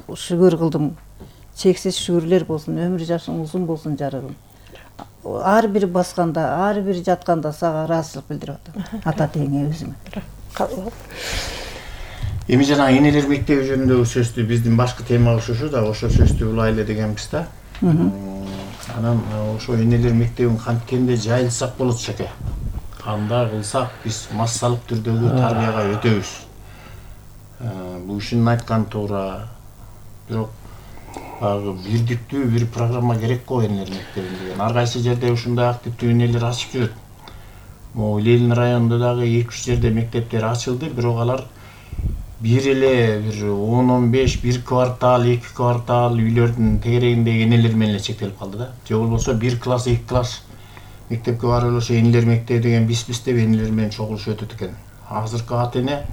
шүгүр кылдым. Чексиз шүгүрлөр болсун, өмүр жашың узун болсун жарыгым. Ар бир басканда, ар бир жатканда сага ыраазычылык билдирип атам. Ата теңе өзүмө. Эми жана энелер мектеби жөнүндөгү сөздү биздин башкы темабыз ушу да, ошо сөздү улайлы дегенбиз да. Анан ошо энелер мектебин канткенде жайылсак болот шеке. Кандай кылсак биз массалык түрдөгү тарбияга өтөбүз. Бул ишин айткан туура. Бирок бирдиктүү бир программа керек го энелер мектебин деген. Ар кайсы жерде ушундай активдүү энелер ачып жүрөт. Могу Ленин районунда дагы 2-3 жерде мектептер ачылды, бирок алар бир эле бир 10-15 бир квартал, 2 квартал үйлөрдүн тегерегиндеги энелер менен эле чектелип калды да. Же болбосо 1 класс, 2 класс мектепке барып ошо энелер мектеби деген биз деп энелер менен чогулуш өтөт экен. Азыркы ата эне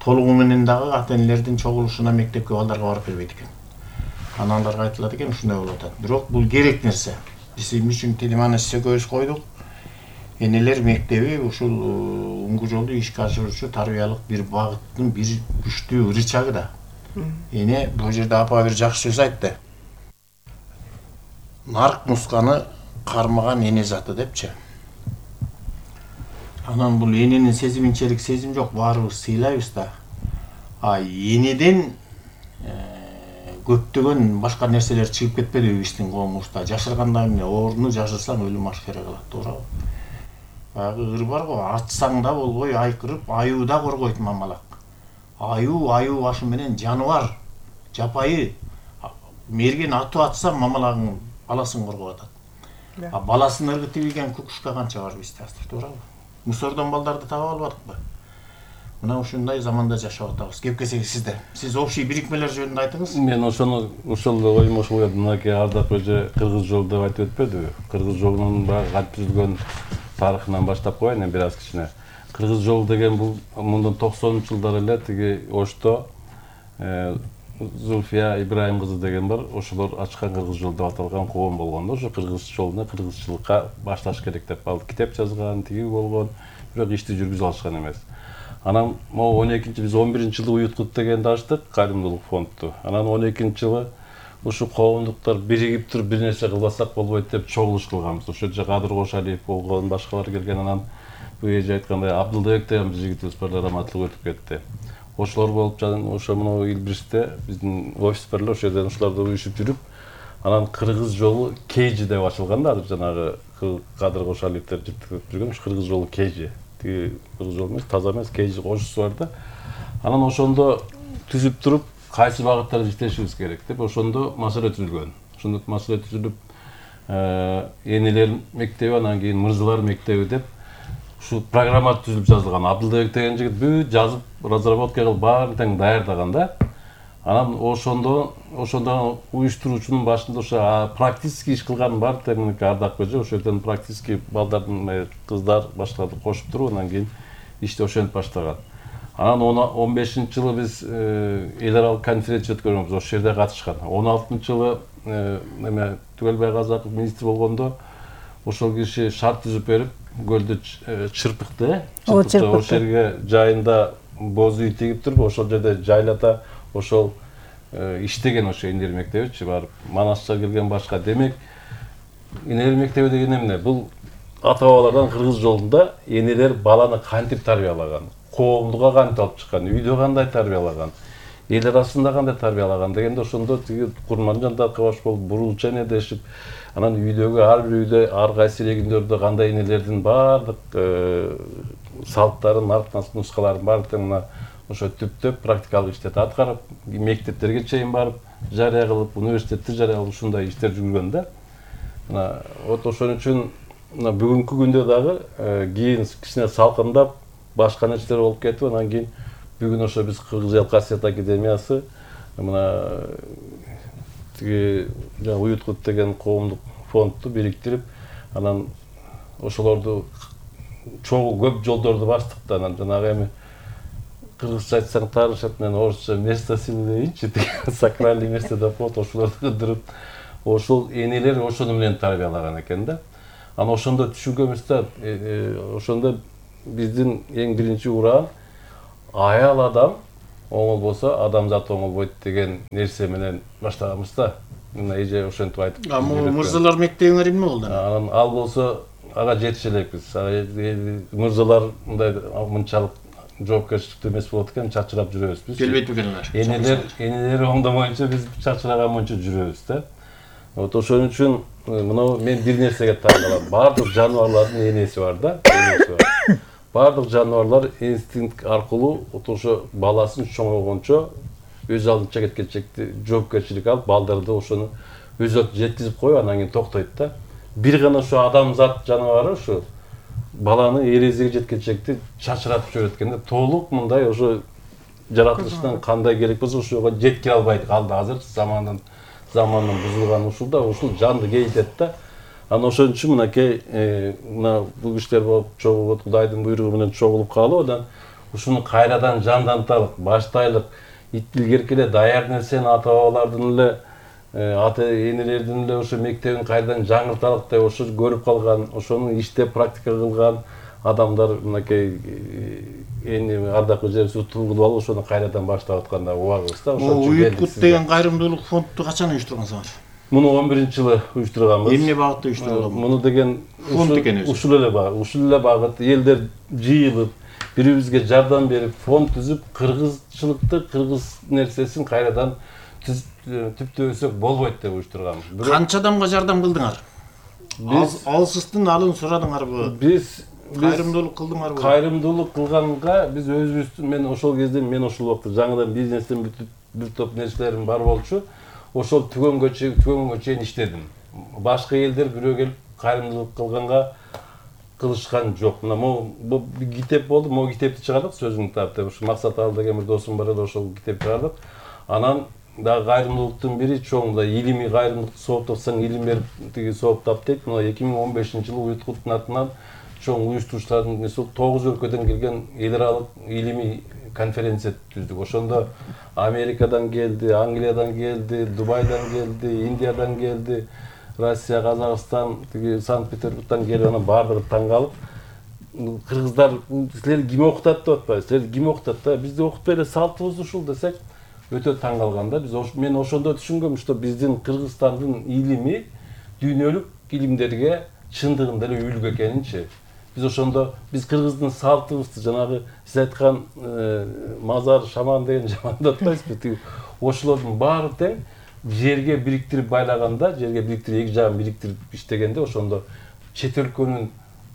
толугу менен дагы ата энелердин чогулушуна мектепке балдарга барып бербейт экен. Аналарга айтылат экен ушундай болуп атат. Бирок бул керек нерсе. Биз эмне үчүн теманы сөкөбүз койдук? Энелер мектеби ушул уңгу жолду ишке ашыруучу тарбиялык бир багыттын бир күчтүү рычагы да. Эне бул жерде апа бир жакшы сөз айтты. Нарк мусканы кармаган эне заты депчи. Анан бул эненин сезиминчелик сезим жок, баарыбыз сыйлайбыз да. Энеден көптөгөн башка нерселер чыгып кетпедиби биздин коомубузда? Жашырганда эмне, орну жашырсаң өлүм ашкере кылат, туурабы? Баягы ыр бар го, атсаң да болбой айкырып, аюу да коргойт мамалак. Аюу башы менен жаныбар, жапайы. Мерген атып атса мамалагың баласын коргоп атат. Баласын ыргытып ийген кукушка канча бар бизде азыр, туурабы? Мусордон балдарды таба албадыкпы? Мына ушундай заманда жашап атабыз. Кеп келсек сизде. Сиз общий бирикмелер жөнүндө айтыңыз. Мен ошол оюм ошол еді. Мынакей Ардак эже кыргыз жолу деп айтып өтпөдүбү? Кыргыз жолунун баягы кантип түзүлгөн тарыхынан баштап коеюн бир аз кичине. Кыргыз жолу деген бул мындан 90-жылдар эле тиги Ошто Зульфия Ибраим кызы деген бар. Ошолор ачкан кыргыз жол деп аталган коом болгон. Ошо кыргыз жолуна кыргызчылыкка башташ керек деп ал китеп жазган, тиги болгон, бирок ишти жүргүзө алышкан эмес. Анан могу 12-биз 11-жылы уюткут дегенди ачтык, кайрымдуулук фондду. Анан 12-жылы ушу коомдуктар биригип туруп бир нерсе кылбасак болбойт деп чогулуш кылганбыз. Ошо жерде Кадыр Кошалиев болгон, башкалар келген. Анан бул эже айткандай Абдылбек деген биз жигитибиз бар, раматтылык өтүп кетти. Ошолор болуп жатан ошо мына Илбиристе биздин офис бар эле, ошол жерден ошолорду уюшуп жүрүп, анан кыргыз жолу Кейжи деп ачылган да, жанагы Кадыр Кошалиевтер жүргөн ушу кыргыз жолу Кейжи. Тиги кыргыз жол эмес, таза эмес, Кейжи кошусу бар да. Анан ошондо түзүп туруп, кайсы багыттарда иштешибиз керек деп ошондо маселе түзүлгөн. Ошондо маселе түзүлүп, энелер мектеби, анан кийин мырзалар мектеби деп ушу программа түзүлүп жазылган. Абдылбек деген жигит бүт жазып, разработка кылып баарын тең даярдаган да. Анан ошондо уюштуруучунун башында ошо практически иш кылган бар тең Ардак эже, ошол жерден практически балдардын кыздар башкаларды кошуп туруп, анан кийин ишти ошентип баштаган. Анан 15-жылы биз эл аралык конференция өткөргөнбүз, ошол жерде катышкан. 16-жылы Түгөлбай Казаков министр болгондо ошол киши шарт түзүп берип, көлдү чырпыкты, ошол жерге жайында боз үй тигип туруп, ошол жерде жайлата ошол иштеген ошо энелер мектебичи барып, Манасча келген башка. Демек, энелер мектеби деген эмне? Бул ата-бабалардан кыргыз жолунда энелер баланы кантип тарбиялаган, коомдуга кантип алып чыккан, үйдө кандай тарбиялаган, эл арасында кандай тарбиялаган дегенде ошондо тиги Курманжан Даркабаш болуп бурулча энедешип, анан үйдөгү ар бир үйдө ар кайсы региондордо кандай энелердин баардык салттарын, нускаларын баардыгын мына ошо түптөп практикалык иштет аткарып, мектептерге чейин барып, жарыя кылып, университетте жарыя кылып ушундай иштер жүргөн да. Мына вот ошон үчүн мына бүгүнкү күндө дагы кийин кичине салкындап, башка нерселер болуп кетип, анан кийин бүгүн ошо биз Кыргыз эл касиет академиясы мына тиги уюткут деген коомдук фондду бириктирип, анан ошолорду чогуу көп жолдорду баштык да, анан жанагы эми кыргызча айтсаң таарышат менен орусча место силы дейинчи, сакральный место деп коет, ошолорду кыдырып, ошол энелер ошону менен тарбиялаган экен да. Анан ошондо түшүнгөнбүз да, ошондо биздин эң биринчи ураан аял адам оңол болсо адамзат оңол болот деген нерсе менен баштаганбыз да. Мына эже ошентип айтып. Мырзалар мектебиңер эмне болду? Анан ал болсо ага жетише элекпиз. Мырзалар мындай мынчалык жоопкерчиликтүү эмес болот экен, чачырап жүрөбүз биз. Келбейт бекенлер. Энелер оңдомойнчо биз чачыраган мончо жүрөбүз да. Вот ошон үчүн мына мен бир нерсеге таң калам. Бардык жаныбарлардын энеси бар да, энеси бар. Бардык жаныбарлар инстинкт аркылуу ошо баласын чоңойгончо өз алдынча кеткенчекти жоопкерчилик алып, балдарды ошону өз алдына жеткизип коюп, анан кийин токтойт да. Бир гана ошо адамзат жаныбары ошо баланы эрезиге жеткенчекти чачыратып жиберет экен да. Толук мындай ошо жаратылыштан кандай керек болсо ошого жеткире албайт калды. Азыр замандан бузулган ушулда ушул жанды кейитет да. Анан ошон үчүн мынакей мына бул кишилер болуп чогулуп, Кудайдын буйругу менен чогулуп калып, анан ушуну кайрадан жандантайлык, баштайлык, илгерки эле даяр нерсени ата-бабалардын эле ата-энелердин эле ошо мектебин кайрадан жаңырталык деп ошо көрүп калган, ошону иштеп практика кылган адамдар мынакей эми ардактуу жерибиз утулуп алып ошону кайрадан баштап атканда убагыбыз да. Ошон үчүн Уюткут деген кайрымдуулук фондду качан уюштургансыңар? Муну 11-жылы уюштурганбыз. Эмне багытта уюштурулган? Муну деген фонд экен өзү. Ушул эле багыт, элдер жыйылып, бири-бирибизге жардам берип, фонд түзүп, кыргызчылыкты, кыргыз нерсесин кайрадан түптөбөсөк болбойт деп уюштурганбыз. Канча адамга жардам кылдыңар? Алсыздын алын сурадыңарбы? Биз кайрымдуулук кылдыңарбы? Кайрымдуулук кылганга биз өзүбүздүн, мен ошол кезде ошол убакта жаңыдан бизнестен бир топ нерселерим бар болчу. Ошол түгөнгө чейин иштедим. Башка элдер бирөө келип кайрымдуулук кылганга кылышкан жок. Мына бул китеп болду, могу китепти чыгардык, сөзүң тап деп. Ушу Максат Аал деген бир досум бар эле, ошол китеп чыгардык. Анан дагы кайрымдуулуктун бири чоң да илимий кайрымдуулук сооптосоң илим берип тиги сооптап дейт. Мына 2015-жылы Уюткуттун атынан чоң уюштуруучулардын несі 9 өлкөдөн келген эл аралык илимий конференция түздүк. Ошондо Америкадан келди, Англиядан келди, Дубайдан келди, Индиядан келди, Россия, Казакстан, Санкт-Петербургдан келип, анан баардыгы таң калып, кыргыздар силер ким окутат деп атпайбы? Силер ким окутат да? Бизди окутпай эле салтыбыз ушул десек, өтө таң калган да. Мен ошондо түшүнгөм, что биздин Кыргызстандын илими дүйнөлүк илимдерге чындыгында эле үлгү экенинчи. Биз ошондо кыргыздын салтыбызды жанагы сиз айткан мазар, шаман деген жамандап атпайсызбы? Ошолордун баары тең жерге бириктирип байлаганда, жерге бириктирип эки жагын бириктирип иштегенде ошондо чет өлкөнүн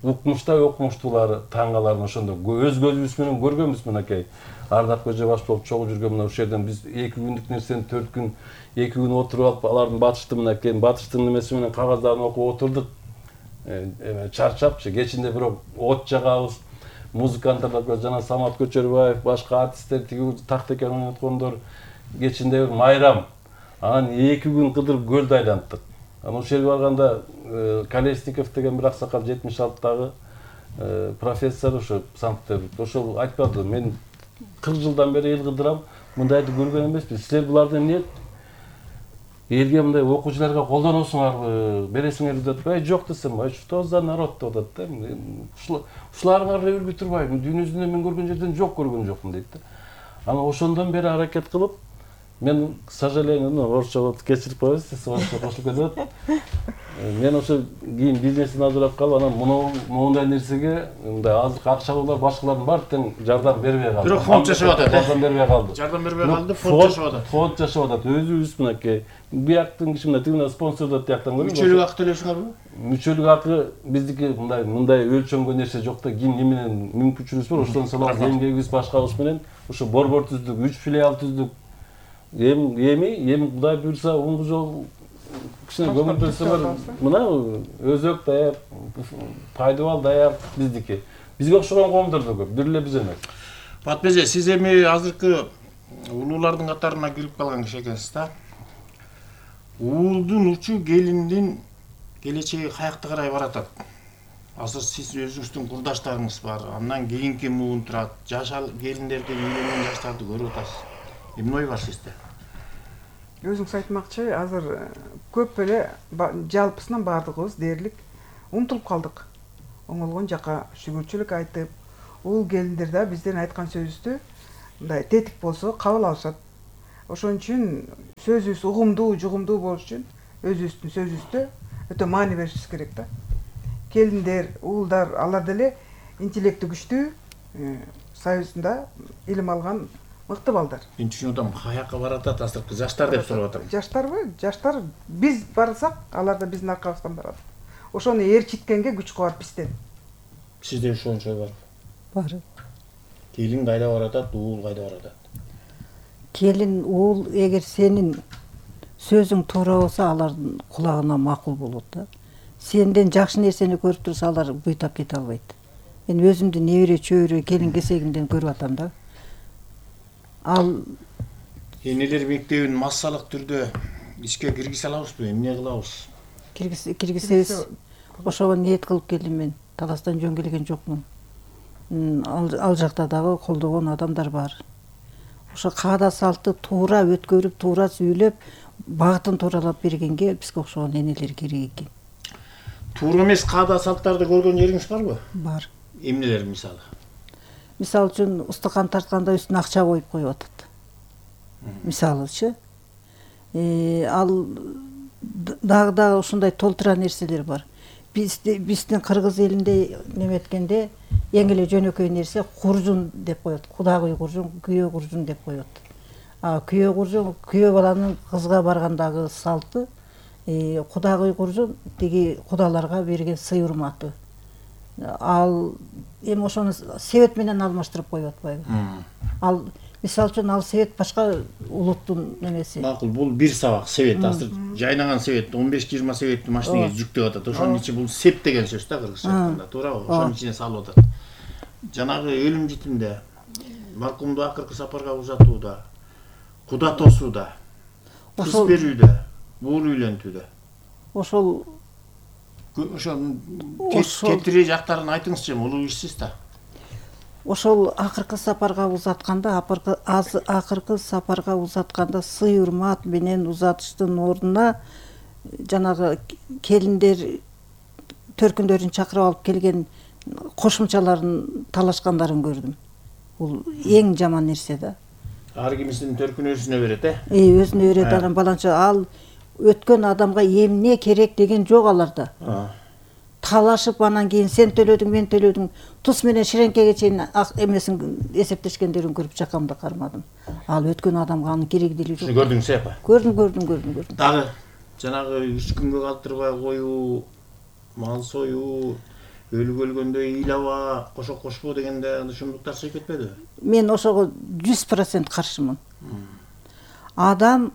окумуштуулары таң каларын ошондо өз көзүбүз менен көргөнбүз. Мынакей Ардак Көже баш болуп чогуу жүргөн мына ошол жерден биз 2 күндүк нерсени 4 күн, 2 күн отуруп алып, алардын батыштын немеси менен кагаздарын окуп отурдук. Чарчапчы, кечинде бирок от жагабыз, музыканттар жана Самат Көчөрбаев, башка артисттер тиги такт экен ойноткондор, кечинде бир майрам. Анан 2 күн кыдырып көлдү айланттык. Анан ошол жерге барганда Колесников деген бир аксакал 76-дагы профессор ошо Санкт-Петербургда ошол айтпады, мен 40 жылдан бери эл кыдырам, мындайды көргөн эмеспин. Силер буларды эмне элге мындай окуучуларга колдоносуңарбы, бересиңерби деп атпайбы? Жок десем, что за народ деп атат да. Ушуларга үлгү турбайбы, дүйнө жүзүндө мен көргөн жерден көргөн жокмун дейт да. Анан ошондон бери аракет кылып, мен, к сожалению, орусча кечирип коесуз, орусча кошулуп кетет. Мен ошо кийин бизнесин азырап калып, анан моундай нерсеге мындай азыркы акчалуулар башкалардын баары тең жардам бербей калды. Бирок фонд жашап атат. Жардам бербей калды. Жардам бербей калды, фонд жашап атат. Фонд жашап атат. Өзүбүз мынакей бияктын киши мына тигине спонсордот тияктан көрүп. Мүчөлүк акы төлөйсүңөрбү? Мүчөлүк акы биздики мындай өлчөнгөн нерсе жок да. Ким менен мүмкүнчүлүгүбүз бар, ошондон салабыз, эмгегибиз башкабыз менен ошо борбор түздүк, 3 филиал түздүк. Эми Кудай буйруса оңду жол кичине көңүл бөлсөңөр, мына өзөк даяр, пайдыбал даяр биздики. Бизге окшогон коомдордо көп, бир эле биз эмес. Батып эже, сиз эми азыркы улуулардын катарына кирип калган киши экенсиз да. Уулдун учу келиндин келечеги каякта карай баратат? Азыр сиз өзүңүздүн курдаштарыңыз бар, андан кийинки муун турат, жаш келиндерди, үйлөнгөн жаштарды көрүп атасыз. Эмне ой бар сизде? Өзүңүз айтмакчы, азыр көп эле жалпысынан баардыгыбыз дээрлик умтулуп калдык. Оңолгон жака шүгүрчүлүк айтып, уул келиндер да бизден айткан сөзүбүздү мындай тетик болсо кабыл алышат. Ошон үчүн сөзүбүз угумдуу, жугумдуу болуш үчүн өзүбүздүн сөзүбүздө өтө маани беришибиз керек да. Келиндер, уулдар, алар деле интеллекти күчтүү, союзунда илим алган мыкты балдар. Мен түшүнүп атам, каяка баратат азыркы жаштар деп сурап атам. Жаштарбы? Жаштар биз барсак, алар да биздин аркабыздан барат. Ошону ээрчиткенге күч кубат бизден. Сизде ошончо бар. Бар. Келин кайда баратат, уул кайда баратат? Келин, уул эгер сенин сөзүң туура болсо, алардын кулагына макул болот да. Сенден жакшы нерсени көрүп турса, алар буйтап кете албайт. Мен өзүмдү небере чөбөрө келин кесегимден көрүп атам да. Ал Энелер мектебин массалык түрдө ишке киргизе алабызбы? Эмне кылабыз? киргизсебиз ошого ниет кылып келдим мен. Таластан жөн келген жокмун. Ал жакта дагы колдогон адамдар бар. Ошо каада салтты туура өткөрүп, туура сүйлөп, багытын тууралап бергенге бизге окшогон энелер керек экен. Туура эмес каада салттарды көргөн жериңиз барбы? Бар. Эмнелер мисалы? Мисалы үчүн устукан тартканда үстүнө акча коюп коюп атат. Мисалычы. Ал дагы ушундай толтура нерселер бар. Биздин кыргыз элинде неметкенде эң эле жөнөкөй нерсе куржун деп коет. Кудагый куржун, күйөө куржун деп коет. Күйөө куржун, күйөө баланын кызга баргандагы салты, кудагый куржун тиги кудаларга берген сый урматы. Ал эми ошону себет менен алмаштырып коюп атпайбы? Ал мисалы үчүн ал себет башка улуттун немеси. Макул, бул бир сабак себет, азыр жайнаган себет 15-20 себетти машинеге жүктөп атат. Ошонун ичи бул сеп деген сөз да кыргызча айтканда, туурабы? Ошонун ичине салып атат. Жанагы өлүм житимде, маркумду акыркы сапарга узатууда, куда тосууда, кыз берүүдө, буур үйлөнтүүдө. Ошол кетири жактарын айтыңызчы, улуу ишсиз да. Ошол акыркы сапарга узатканда сый урмат менен узатыштын ордуна жанагы келиндер төркүндөрүн чакырып алып келген кошумчаларын талашкандарын көрдүм. Бул эң жаман нерсе да. Ар кимисинин төркүнү өзүнө берет, Өзүнө берет анан баланча ал өткөн адамга эмне керек деген жок аларда. Талашып анан кийин сен төлөдүң, мен төлөдүң, тус менен ширеңкеге чейин эмесин эсептешкендерин көрүп жакамды кармадым. Ал өткөн адамга анын кереги деле жок. Көрдүңүз апа? Көрдүм. Дагы жанагы 3 күнгө калтырбай коюу, мал союу, өлүп өлгөндө ыйлаба, кошок кошпо дегенде ушундуктар чыгып кетпедиби? Мен ошого 100% каршымын. Адам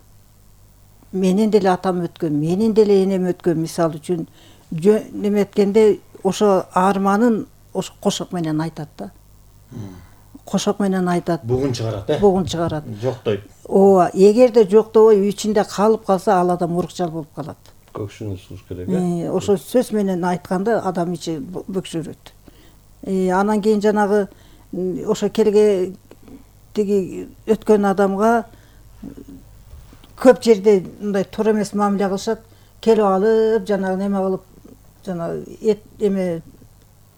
менен деле атам өткөн, менен деле энем өткөн, мисалы үчүн неметкенде ошо арманын ошо кошок менен айтат да. Кошок менен айтат. Бугун чыгарат, Бугун чыгарат. Жоктойт. Ооба, эгерде жоктобой ичинде калып калса, ал адам урукчал болуп калат. Көкшүнү сууш керек, Ошо сөз менен айтканда адам ичи бөксөрөт. Анан кийин жанагы ошо келге тиги өткөн адамга көп жерде мындай туура эмес мамиле кылышат. Келип алып, жанагы неме кылып, жанагы эме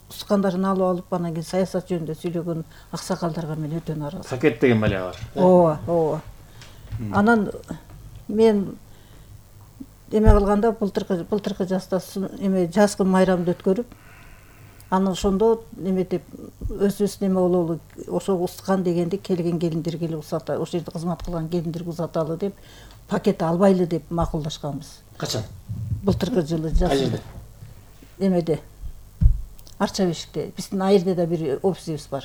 ускандарын алып алып, анан кийин саясат жөнүндө сүйлөгөн аксакалдарга мен өтө нааразы. Пакет деген бале бар. Ооба. Анан мен эме кылганда былтыркы жазда эме жазгы майрамды өткөрүп, анан ошондо эме деп өзүбүз неме бололу, ошо ускан дегенди келген келиндер келип узата, ошол жерде кызмат кылган келиндерге узаталы деп пакет албайлы деп макулдашканбыз. Качан? Былтыркы жылы жазда. Эмеде Арча бешикте, биздин айырда да бир офисибиз бар.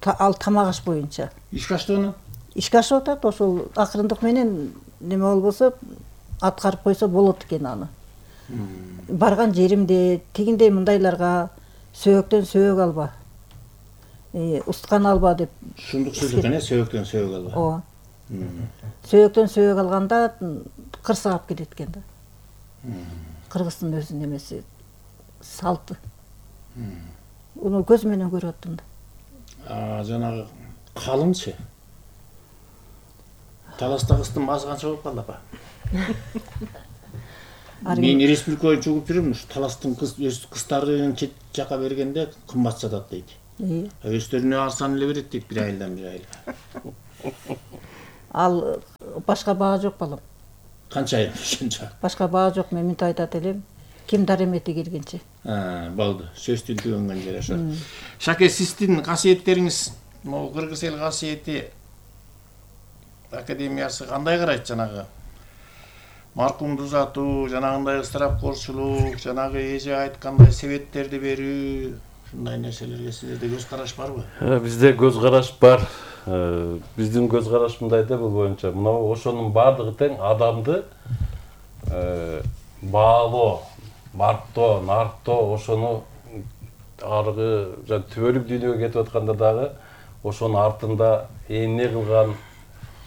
Ал тамак аш боюнча. Ишке ашты аны? Ишке ашып атат, ошол акырындык менен неме болбосо, аткарып койсо болот экен аны. Барган жеримде тигиндей мындайларга сөөгөктөн сөөгө алба, усткан алба деп. Ушундук сөз экен, сөөгөктөн сөөгө алба. Ооба. Сөөгөктөн сөөгө алганда кырсыгап кетет экен да. Кыргыздын өзүнүн эмеси, салты. Уну көз менен көрүп аттым да. Жанагы калыңчы. Таласта кыздын баасы канча болуп калды апа? Мен республика боюнча угуп жүрөм, таластын өз кыздарын чет жака бергенде кымбат сатат дейт. Өздөрүнө арсан эле берет дейт, бир айылдан бир айылга. Ал башка баа жок балам. Канча айыл ошончо? Башка баа жок, мен мынтип айтат элем. Ким даремети келгенче. Болду. Сөз тилтөгөнгөн жер ошо. Шаке, сиздин касиеттериңиз, могу кыргыз эл касиети академиясы кандай карайт жанагы? Маркумду узатуу, жанагындай ысырапкорчулук, жанагы эже айткандай себеттерди берүү, ушундай нерселерге сиздерде көз караш барбы? Бизде көз караш бар. Биздин көз караш мындай да, бул боюнча мына ошонун баардыгы тең адамды баалоо, барктоо, нарктоо, ошону аркы түбөлүк дүйнөгө кетип атканда дагы ошонун артында эмне кылган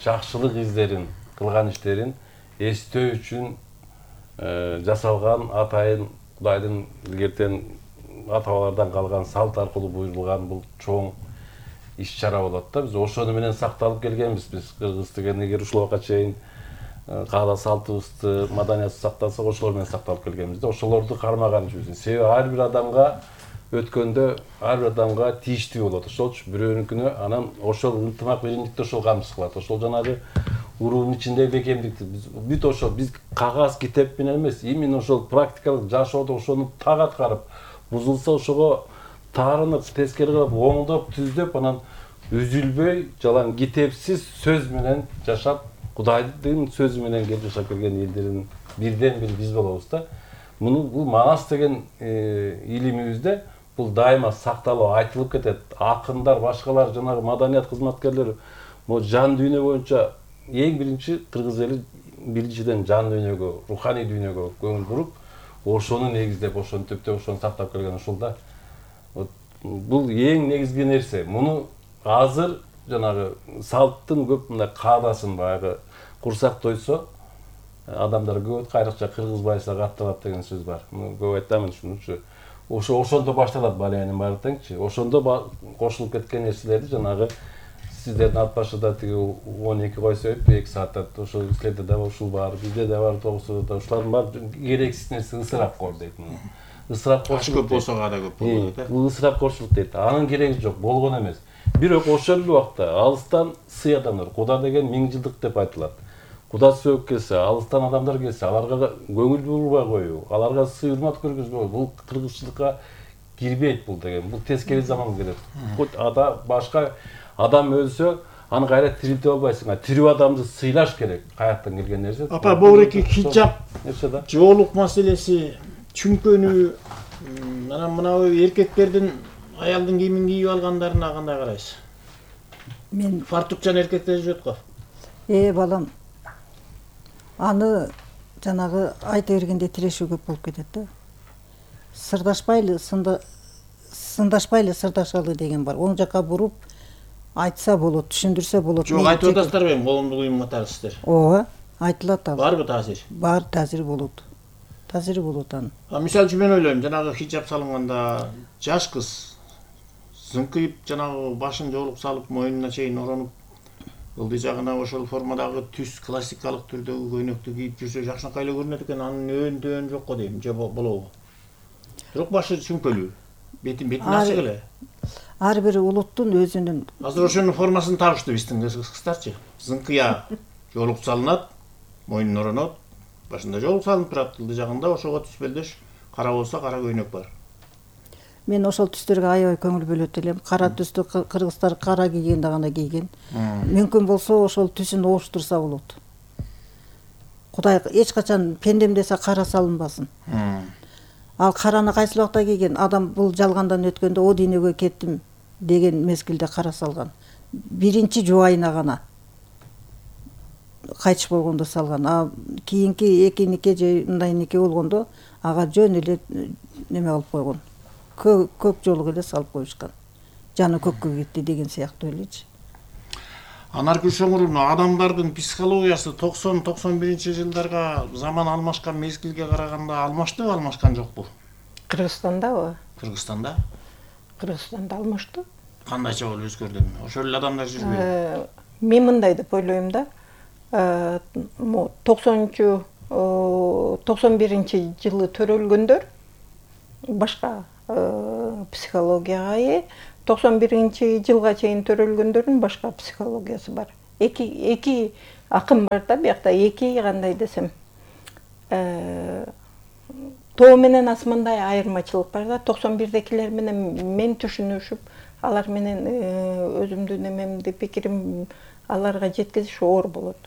жакшылык издерин, кылган иштерин эстөө үчүн жасалган атайын Кудайдын илгертен ата-бабалардан калган салт аркылуу буйрулган бул чоң иш-чара болот да. Биз ошону менен сакталып келгенбиз. Биз кыргыз деген эгер ушул убакка чейин каада салтыбызды, маданиятыбызды сактасак, ошолор менен сакталып келгенбиз да. Ошолорду кармаган үчүн. Себеби ар бир адамга өткөндө ар бир адамга тийиштүү болот. Ошол үчүн бирөөнүкүнө анан ошол ынтымак биримдикти ошол камсыз кылат. Ошол жанагы уруунун ичиндеги бекемдикти бүт ошол биз кагаз китеп менен эмес, именно ошол практикалык жашоодо ошону так аткарып, бузулса ошого таарынып, тескери кылып, оңдоп, түздөп, анан үзүлбөй, жалаң китепсиз сөз менен жашап, Кудайдын сөзү менен келип жашап келген элдердин бирден бири биз болобуз да. Бул манас деген илимибизде бул дайыма сакталып айтылып кетет. Акындар, башкалар, жанагы маданият кызматкерлери могу жан дүйнө боюнча эң биринчи кыргыз эли биринчиден жан дүйнөгө, руханий дүйнөгө көңүл буруп, ошону негиздеп, ошону төптөп, ошону сактап келген ушул да. Бул эң негизги нерсе. Муну азыр жанагы салттын көп мындай каадасын баягы курсак тойсо адамдар көп кайрыкча кыргыз байса катталат деген сөз бар. Муну көп айтамын ушунучу. Ошондо башталат баленин баары теңчи. Ошондо кошулуп кеткен нерселерди жанагы сиздердин ат башыда тиги 12 койсо 2 саатта ошол силерде да ушул бар, бизде да бар, тогусуда ушулардын баары керексиз нерсе, ысырапкор дейт муну. Ысырапкорчулук көп болсо ада көп болот да. Бул ысырапкорчулук дейт. Анын кереги жок, болгон эмес. Бирок ошол эле убакта алыстан сый адамдар, Куда деген 1000 жылдык деп айтылат. Куда сөөп келсе, алыстан адамдар келсе, аларга көңүл бурбай коюу, аларга сый урмат көргөзбөй, бул кыргызчылыкка кирбейт бул деген. Бул тескери заман келет. Ада башка адам өлсө, аны кайра тирилте албайсың. Тирүү адамды сыйлаш керек. Каяктан келген нерсе. Апа, богуреки хиджаб, жоолук маселеси, чүңкөнүү, анан мына эркектердин аялдын кийимин кийип алгандарына кандай карайсыз? Мен фартукчан эркектер жүрөт го. Балам, аны жанагы айта бергенде тирешүү көп болуп кетет да. Сырдашпайлы, сындашпайлы сырдашалы деген бар. Оң жакка буруп айтса болот, түшүндүрсө болот. Жок, айтып атасыздар бем, колумду куйум катарысыздар. Ооба, айтылат ал. Барбы таасир? Бар, таасири болот. Таасири болот анын. Мисалы үчүн мен ойлойм, жанагы хиджаб салынганда жаш кыз зыңкыйып, жанагы башын жоолук салып, мойнуна чейин оронуп, ылдый жагына ошол формадагы түс классикалык түрдөгү көйнөктү кийип жүрсө жакшынакай эле көрүнөт экен. Анын өөн жок го дейм, же болобу? Бирок башы чүңкөлүү, бетин ачык эле. Ар бир улуттун өзүнүн. Азыр ошонун формасын табышты биздин кыздарчы. Зыңкыя жоолук салынат, мойнуна оронот, башында жоолук салынып турат, ылдый жагында ошого түспөлдөш кара болсо кара көйнөк бар. Мен ошол түстөргө аябай көңүл бөлөт элем. Кара түстү кыргыздар кара кийгенде гана кийген. Мүмкүн болсо ошол түсүн ооштурса болот. Кудай эч качан пендем десе кара салынбасын. Ал караны кайсы убакта кийген? Адам бул жалгандан өткөндө о дүйнөгө кеттим деген мезгилде кара салган. Биринчи жубайына гана кайтыш болгондо салган. Кийинки экинике же мындайнике болгондо ага жөн эле неме кылып койгон. Көк жолук эле салып коюшкан. Жаны көккө кетти деген сыяктуу элечи. Анаркүл Шоңуровна, адамдардын психологиясы 90-91 жылдарга заман алмашкан мезгилге караганда алмаштыбы, алмашкан жокпу? Кыргызстандабы? Кыргызстанда? Кыргызстанда алмашты. Кандайча болуп өзгөрдү? Ошол эле адамдар жүрбөйбү? Мен мындай деп ойлойм да. 91 жылы төрөлгөндөр башка психологияга 91-жылга чейин төрөлгөндөрдүн башка психологиясы бар. Эки акым бар да, биякта эки кандай десем, тоо менен асмандай айырмачылык бар да. 91декилер менен мен түшүнүшүп, алар менен өзүмдүн немемди, пикирим аларга жеткизиш оор болот.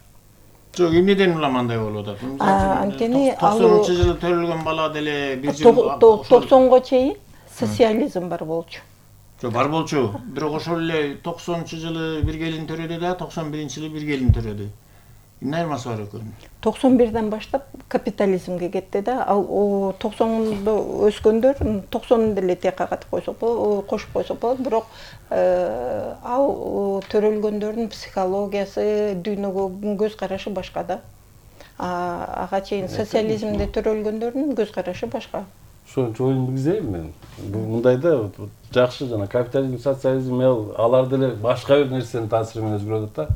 Жок, эмнеден улам андай болуп атат? Анткени 90-жылы төрөлгөн бала деле бир жыл 90го чейин социализм бар болчу. Жок, бар болчу. Бирок ошол эле 90-жылы бир келин төрөдү да, 91-жылы бир келин төрөдү. Эмне айырмасы бар экөөнүн? 91ден баштап капитализмге кетти да. Ал 90-да өскөндөр 90 деле текка катып кошуп койсок болот. Бирок ал төрөлгөндөрдүн психологиясы, дүйнөгө көз карашы башка да. Ага чейин социализмде төрөлгөндөрдүн көз карашы башка. Ошонун оюн билгизейин мен. Мындай да жакшы жана капитализм, социализм алар деле башка бир нерсенин таасири менен өзгөрөт да.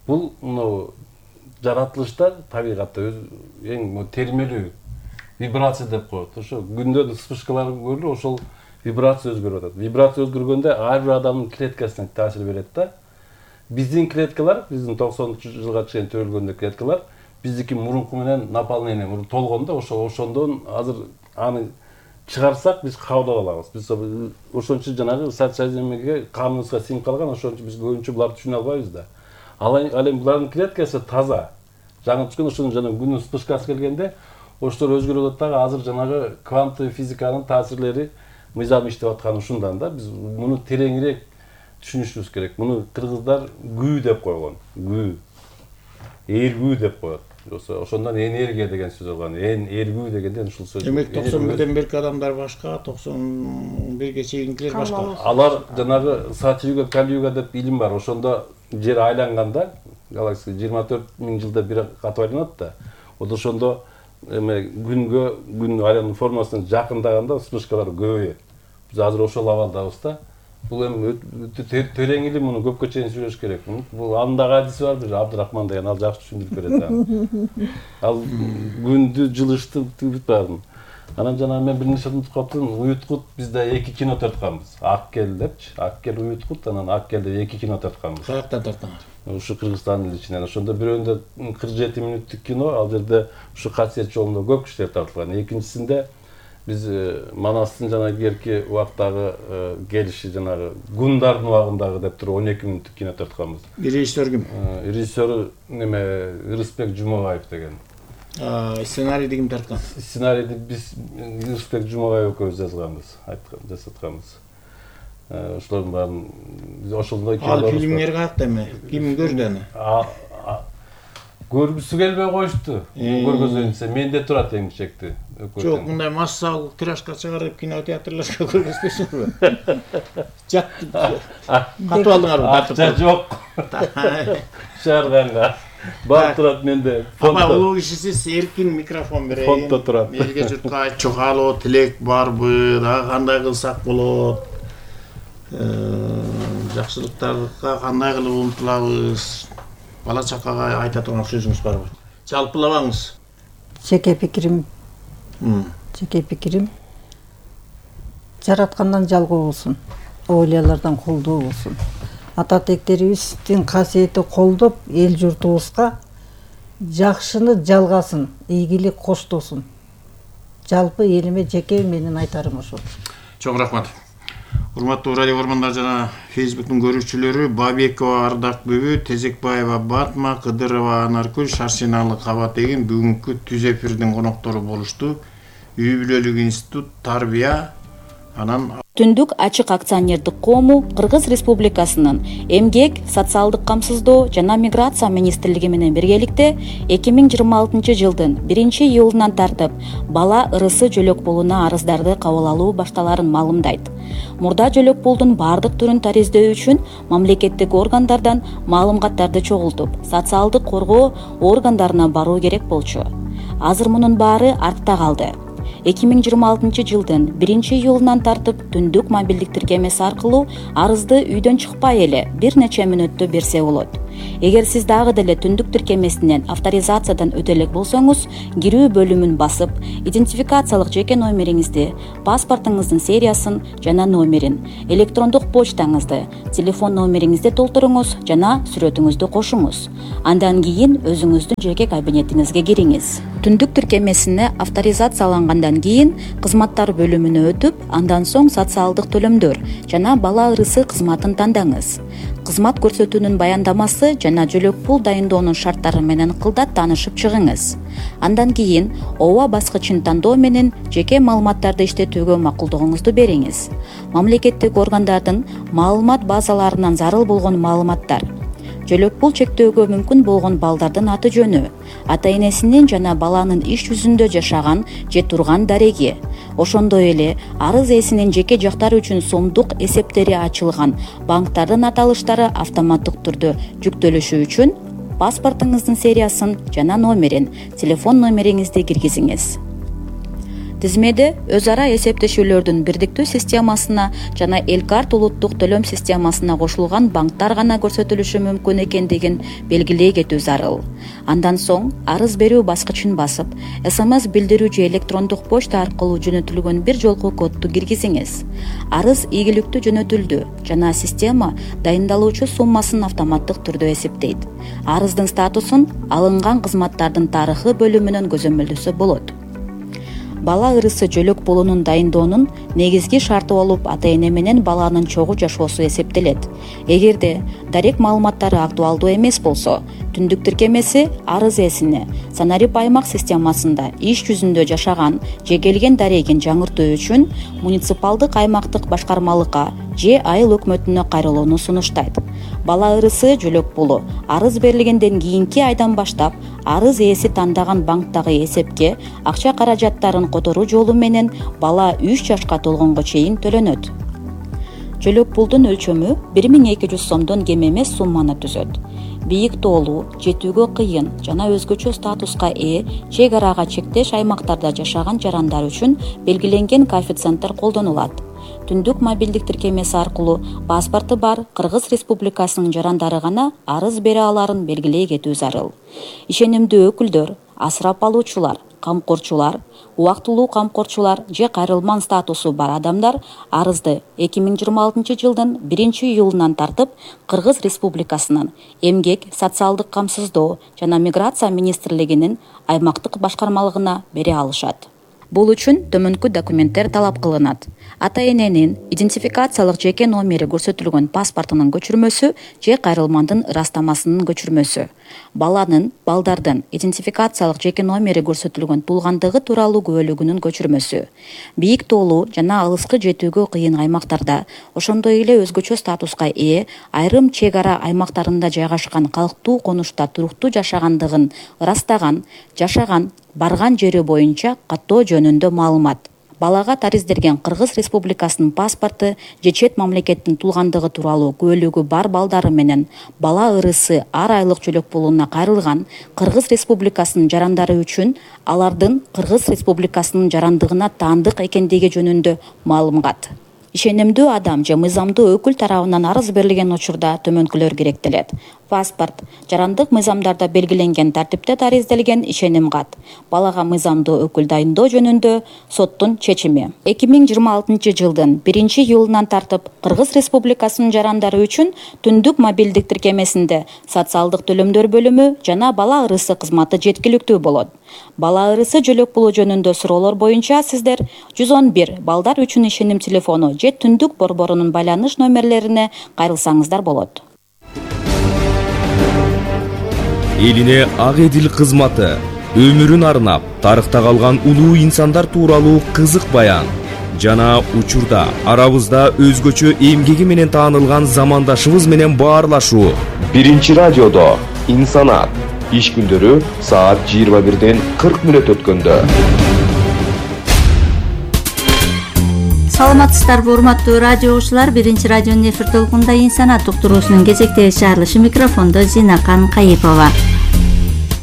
Бул жаратылышта табигатта эң термелүү вибрация деп коет. Ошо күндөн вспышкалар көрүлүп, ошол вибрация өзгөрүп атат. Вибрация өзгөргөндө ар бир адамдын клеткасына таасир берет да. Биздин клеткалар, биздин 90-жылга чейин төрөлгөндө клеткалар биздики мурунку менен наполнение толгондо, ошондон азыр аны чыгарсак биз кабыл алабыз. Биз ошон үчүн жанагы социализмге каныбызга сиңип калган, ошон үчүн биз көбүнчө буларды түшүнө албайбыз да. Ал эми булардын клеткасы таза. Жаңы түшкөн ошонун жана күндүн вспышкасы келгенде ошолор өзгөрүп атат дагы. Азыр жанагы кванттык физиканын таасирлери мыйзам иштеп атканы ушундан да. Биз муну тереңирээк түшүнүшүбүз керек. Муну кыргыздар гүү деп койгон. Гүү. Эргүү деп коет. Ошондон энергия деген сөз алган. Эргүү дегенден ушул сөз. Демек 91ден берки адамдар башка, 91ге чейинкилер башка. Алар жанагы Сатюга, Калюга деп илим бар. Ошондо жер айланганда, галактика 24.000 жылда бир катып айланат да. Ошондо күн айлануу формасына жакындаганда вспышкалар көбөйөт. Биз азыр ошол абалдабыз да. Бул эми терең илим, муну көпкө чейин сүйлөш керек. Бул андагы адиси бар бир Абдырахман деген, ал жакшы түшүндүрүп берет аны. Ал күндү жылышты бүт баарын. Анан жана мен бир нерсе унутуп калыптым. Уюткут бизде 2 кино тартканбыз. Аккел депчи, Аккел Уюткут, анан Аккелде 2 кино тартканбыз. Каяктан тартканар? Ушу Кыргызстандын ичинен. Ошондо бирөөндө 47 мүнөттүк кино, ал жерде ушу касиет жолунда көп кишилер тартылган. Экинчисинде биз Манастын жана кийинки убактагы келиши жанагы Гундардын убагындагы деп туруп 12 мүнөттүк кино тартканбыз. Режиссер ким? Режиссеру Ырысбек Жумабаев деген. Сценарийди ким тарткан? Сценарийди биз Ырысбек Жумабаев экөөбүз жазганбыз, жасатканбыз. Ошолордун баарын ошондой кино. Ал фильмдер каякта эми? Ким көрдү аны? Көргүсү келбей коюшту. Көргөзөйүнсө менде турат эң кичекти. Жок, мындай массалык тиражга чыгарып кинотеатрларга көргөзбөйсүңөрбү? Жат. Катып алдыңарбы? Акча жок. Чыгарганга. Бар турат менде. Ама улуу кишисиз эркин микрофон берейин. Фондо турат. Элге журтка айтчу каалоо, тилек барбы? Дагы кандай кылсак болот? Жакшылыктарга кандай кылып умтулабыз? Бала чакага айта турган сөзүңүз барбы? Жалпылабаңыз. Жеке пикирим жараткандан жалгоо болсун, оолиялардан колдоо болсун. Ата тектерибиздин касиети колдоп, эл журтубузга жакшыны жалгасын, ийгилик коштосун. Жалпы элиме жеке менин айтарым ошол. Чоң рахмат. Урматтуу радио көрөрмандар жана Facebook'тун көрүүчүлөрү, Бабекова Ардак Бүбү, Тезекбаева Батма, Кыдырова Анаркүл, Шарсиналы Кабат деген бүгүнкү түз эфирдин коноктору болушту. Үй бүлөлүк институт, тарбия, анан Түндүк ачык акционердик коому Кыргыз Республикасынын Эмгек, социалдык камсыздоо жана миграция министрлиги менен биргеликте 2026 жылдын 1-июлунан тартып бала ырысы жөлөк пулуна арыздарды кабыл алуу башталарын маалымдайт. Мурда жөлөк пулдун бардык түрүн тариздөө үчүн мамлекеттик органдардан маалыматтарды чогултуп, социалдык коргоо органдарына баруу керек болчу. Азыр мунун баары артта калды. 2026 жылдын 1-июлунан тартып түндүк мобилдик тиркемеси аркылуу арызды үйдөн чыкпай эле бир нече мүнөттө берсе болот. Эгер сиз дагы деле түндүк тиркемесинен авторизациядан өтө элек болсоңуз, кирүү бөлүмүн басып, идентификациялык жеке номериңизди, паспортуңуздун сериясын жана номерин, электрондук почтаңызды, телефон номериңизди толтуруңуз жана сүрөтүңүздү кошуңуз. Андан кийин өзүңүздүн жеке кабинетиңизге кириңиз. Түндүк тиркемесине авторизациялангандан кийин кызматтар бөлүмүнө өтүп, андан соң социалдык төлөмдөр жана бала ырысы кызматын тандаңыз. Кызмат көрсөтүүнүн баяндамасы жана жөлөк пул дайындоонун шарттары менен кылдат таанышып чыгыңыз. Андан кийин ооба баскычын тандоо менен жеке маалыматтарды иштетүүгө макулдугуңузду бериңиз. Мамлекеттик органдардын маалымат базаларынан зарыл болгон маалыматтар, жөлөк пул чектөөгө мүмкүн болгон балдардын аты жөнү, ата энесинин жана баланын иш жүзүндө жашаган же турган дареги, ошондой эле арыз ээсинин жеке жактары үчүн сомдук эсептери ачылган банктардын аталыштары автоматтык түрдө жүктөлүшү үчүн паспортуңуздун сериясын жана номерин, телефон номериңизди киргизиңиз. Тизмеде өз ара эсептешүүлөрдүн бирдиктүү системасына жана Элкарт улуттук төлөм системасына кошулган банктар гана көрсөтүлүшү мүмкүн экендигин белгилей кетүү зарыл. Андан соң арыз берүү баскычын басып, СМС билдирүү же электрондук почта аркылуу жөнөтүлгөн бир жолку кодду киргизиңиз. Арыз ийгиликтүү жөнөтүлдү жана система дайындалуучу суммасын автоматтык түрдө эсептейт. Арыздын статусун алынган кызматтардын тарыхы бөлүмүнөн көзөмөлдөсө болот. Бала ырысы жөлөк пулунун дайындоонун негизги шарты болуп, ата эне менен баланын чогуу жашоосу эсептелет. Эгерде дарек маалыматтары актуалдуу эмес болсо, түндүк тиркемеси арыз ээсине Санарип аймак системасында иш жүзүндө жашаган же келген дарегин жаңыртуу үчүн муниципалдык аймактык башкармалыкка же айыл өкмөтүнө кайрылууну сунуштайт. Бала ырысы жөлөк пулу арыз берилгенден кийинки айдан баштап арыз ээси тандаган банктагы эсепке акча каражаттарын которуу жолу менен бала 3 жашка толгонго чейин төлөнөт. Жөлөк пулдун өлчөмү 1200 сомдон кем эмес сумманы түзөт. Бийик тоолуу, жетүүгө кыйын жана өзгөчө статуска ээ чек арага чектеш аймактарда жашаган жарандар үчүн белгиленген коэффициенттер колдонулат. Түндүк мобилдик тиркемеси аркылуу паспорту бар Кыргыз Республикасынын жарандары гана арыз бере аларын белгилей кетүү зарыл. Ишенимдүү өкүлдөр, асырап алуучулар, камкорчулар, убактылуу камкорчулар же кайрылман статусу бар адамдар арызды 2026 жылдын 1-июлунан тартып Кыргыз Республикасынын Эмгек, социалдык камсыздоо жана миграция министрлигинин аймактык башкармалыгына бере алышат. Бул үчүн төмөнкү документтер талап кылынат. Ата эненин идентификациялык жеке номери көрсөтүлгөн паспортунун көчүрмөсү же кайрылмандын ырастамасынын көчүрмөсү. Балдардын идентификациялык жеке номери көрсөтүлгөн туулгандыгы тууралуу күбөлүгүнүн көчүрмөсү. Бийик тоолуу жана алыскы жетүүгө кыйын аймактарда, ошондой эле өзгөчө статуска ээ айрым чек ара аймактарында жайгашкан калктуу конушта туруктуу жашагандыгын ырастаган, жашаган, барган жери боюнча каттоо жөнүндө маалымат. Балага тариздерген Кыргыз Республикасынын паспорту же чет мамлекеттин туулгандыгы тууралуу күбөлүгү бар балдары менен бала ырысы ар айлык жөлөк пулуна кайрылган Кыргыз Республикасынын жарандары үчүн алардын Кыргыз Республикасынын жарандыгына таандык экендиги жөнүндө маалымат. Ишенимдүү адам же мыйзамдуу өкүл тарабынан арыз берилген учурда төмөнкүлөр керектелет. Паспорт, жарандык мыйзамдарда белгиленген тартипте тариздалген ишеним кат. Балага мыйзамдуу өкүл дайындоо жөнүндө соттун чечими. 2026 жылдын 1-июлунан тартып Кыргыз Республикасынын жарандары үчүн түндүк мобилдик тиркемесинде социалдык төлөмдөр бөлүмү жана бала ырысы кызматы жеткиликтүү болот. Бала ырысы жөлөк пулу жөнүндө суроолор боюнча сиздер 111 балдар үчүн ишеним телефону же түндүк борборунун байланыш номерлерине кайрылсаңыздар болот. Элине ак эдил кызматы, өмүрүн арнап, тарыхта калган улуу инсандар тууралуу кызык баян жана учурда арабызда өзгөчө эмгеги менен таанылган замандашыбыз менен баарлашуу. 1-радиодо инсанат иш күндөрү саат 21:40 өткөндө. Саламатсыздарбы, урматтуу радио угуучулар. 1-радионун эфир толкунунда инсанат уктуруусунун кезектеги чыгарылышы, микрофондо Зинакан Кайыпова.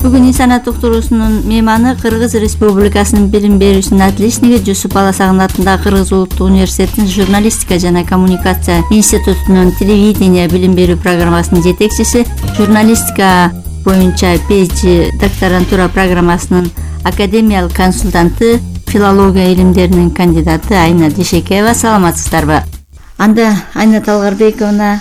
Бүгүн Инсанат уктуруусунун мейманы Кыргыз Республикасынын билим берүүчүсүнүн отличниги Жусуп Баласагын атындагы Кыргыз Улуттук университетинин журналистика жана коммуникация институтунун телевидение билим берүү программасынын жетекчиси, журналистика боюнча PhD докторантура программасынын академиялык консультанты, филология илимдеринин кандидаты Айна Дишекеева. Саламатсыздарбы? Анда Айна Талгарбековна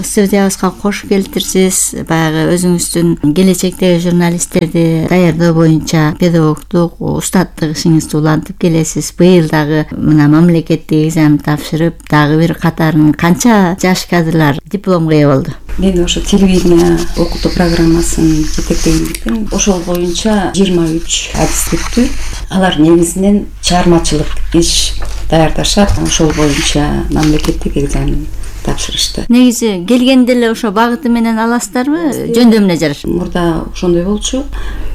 студиябызга кош келиптирсиз. Баягы өзүңүздүн келечектеги журналисттерди даярдоо боюнча педагогдук устаттык ишиңизди улантып келесиз. Быйыл дагы мына мамлекеттик экзамен тапшырып, дагы бир катарын канча жаш кадрлар дипломго ээ болду? Мен ошо телевидение окутуу программасын жетектегендиктен ошол боюнча 23 адистиктүү. Алар негизинен чыгармачылык иш даярдашат. Ошол боюнча мамлекеттик экзамен тапшырышты. Негизи келгенде эле ошо багыты менен аласыздарбы? Жөндөмүнө жараша. Мурда ошондой болчу,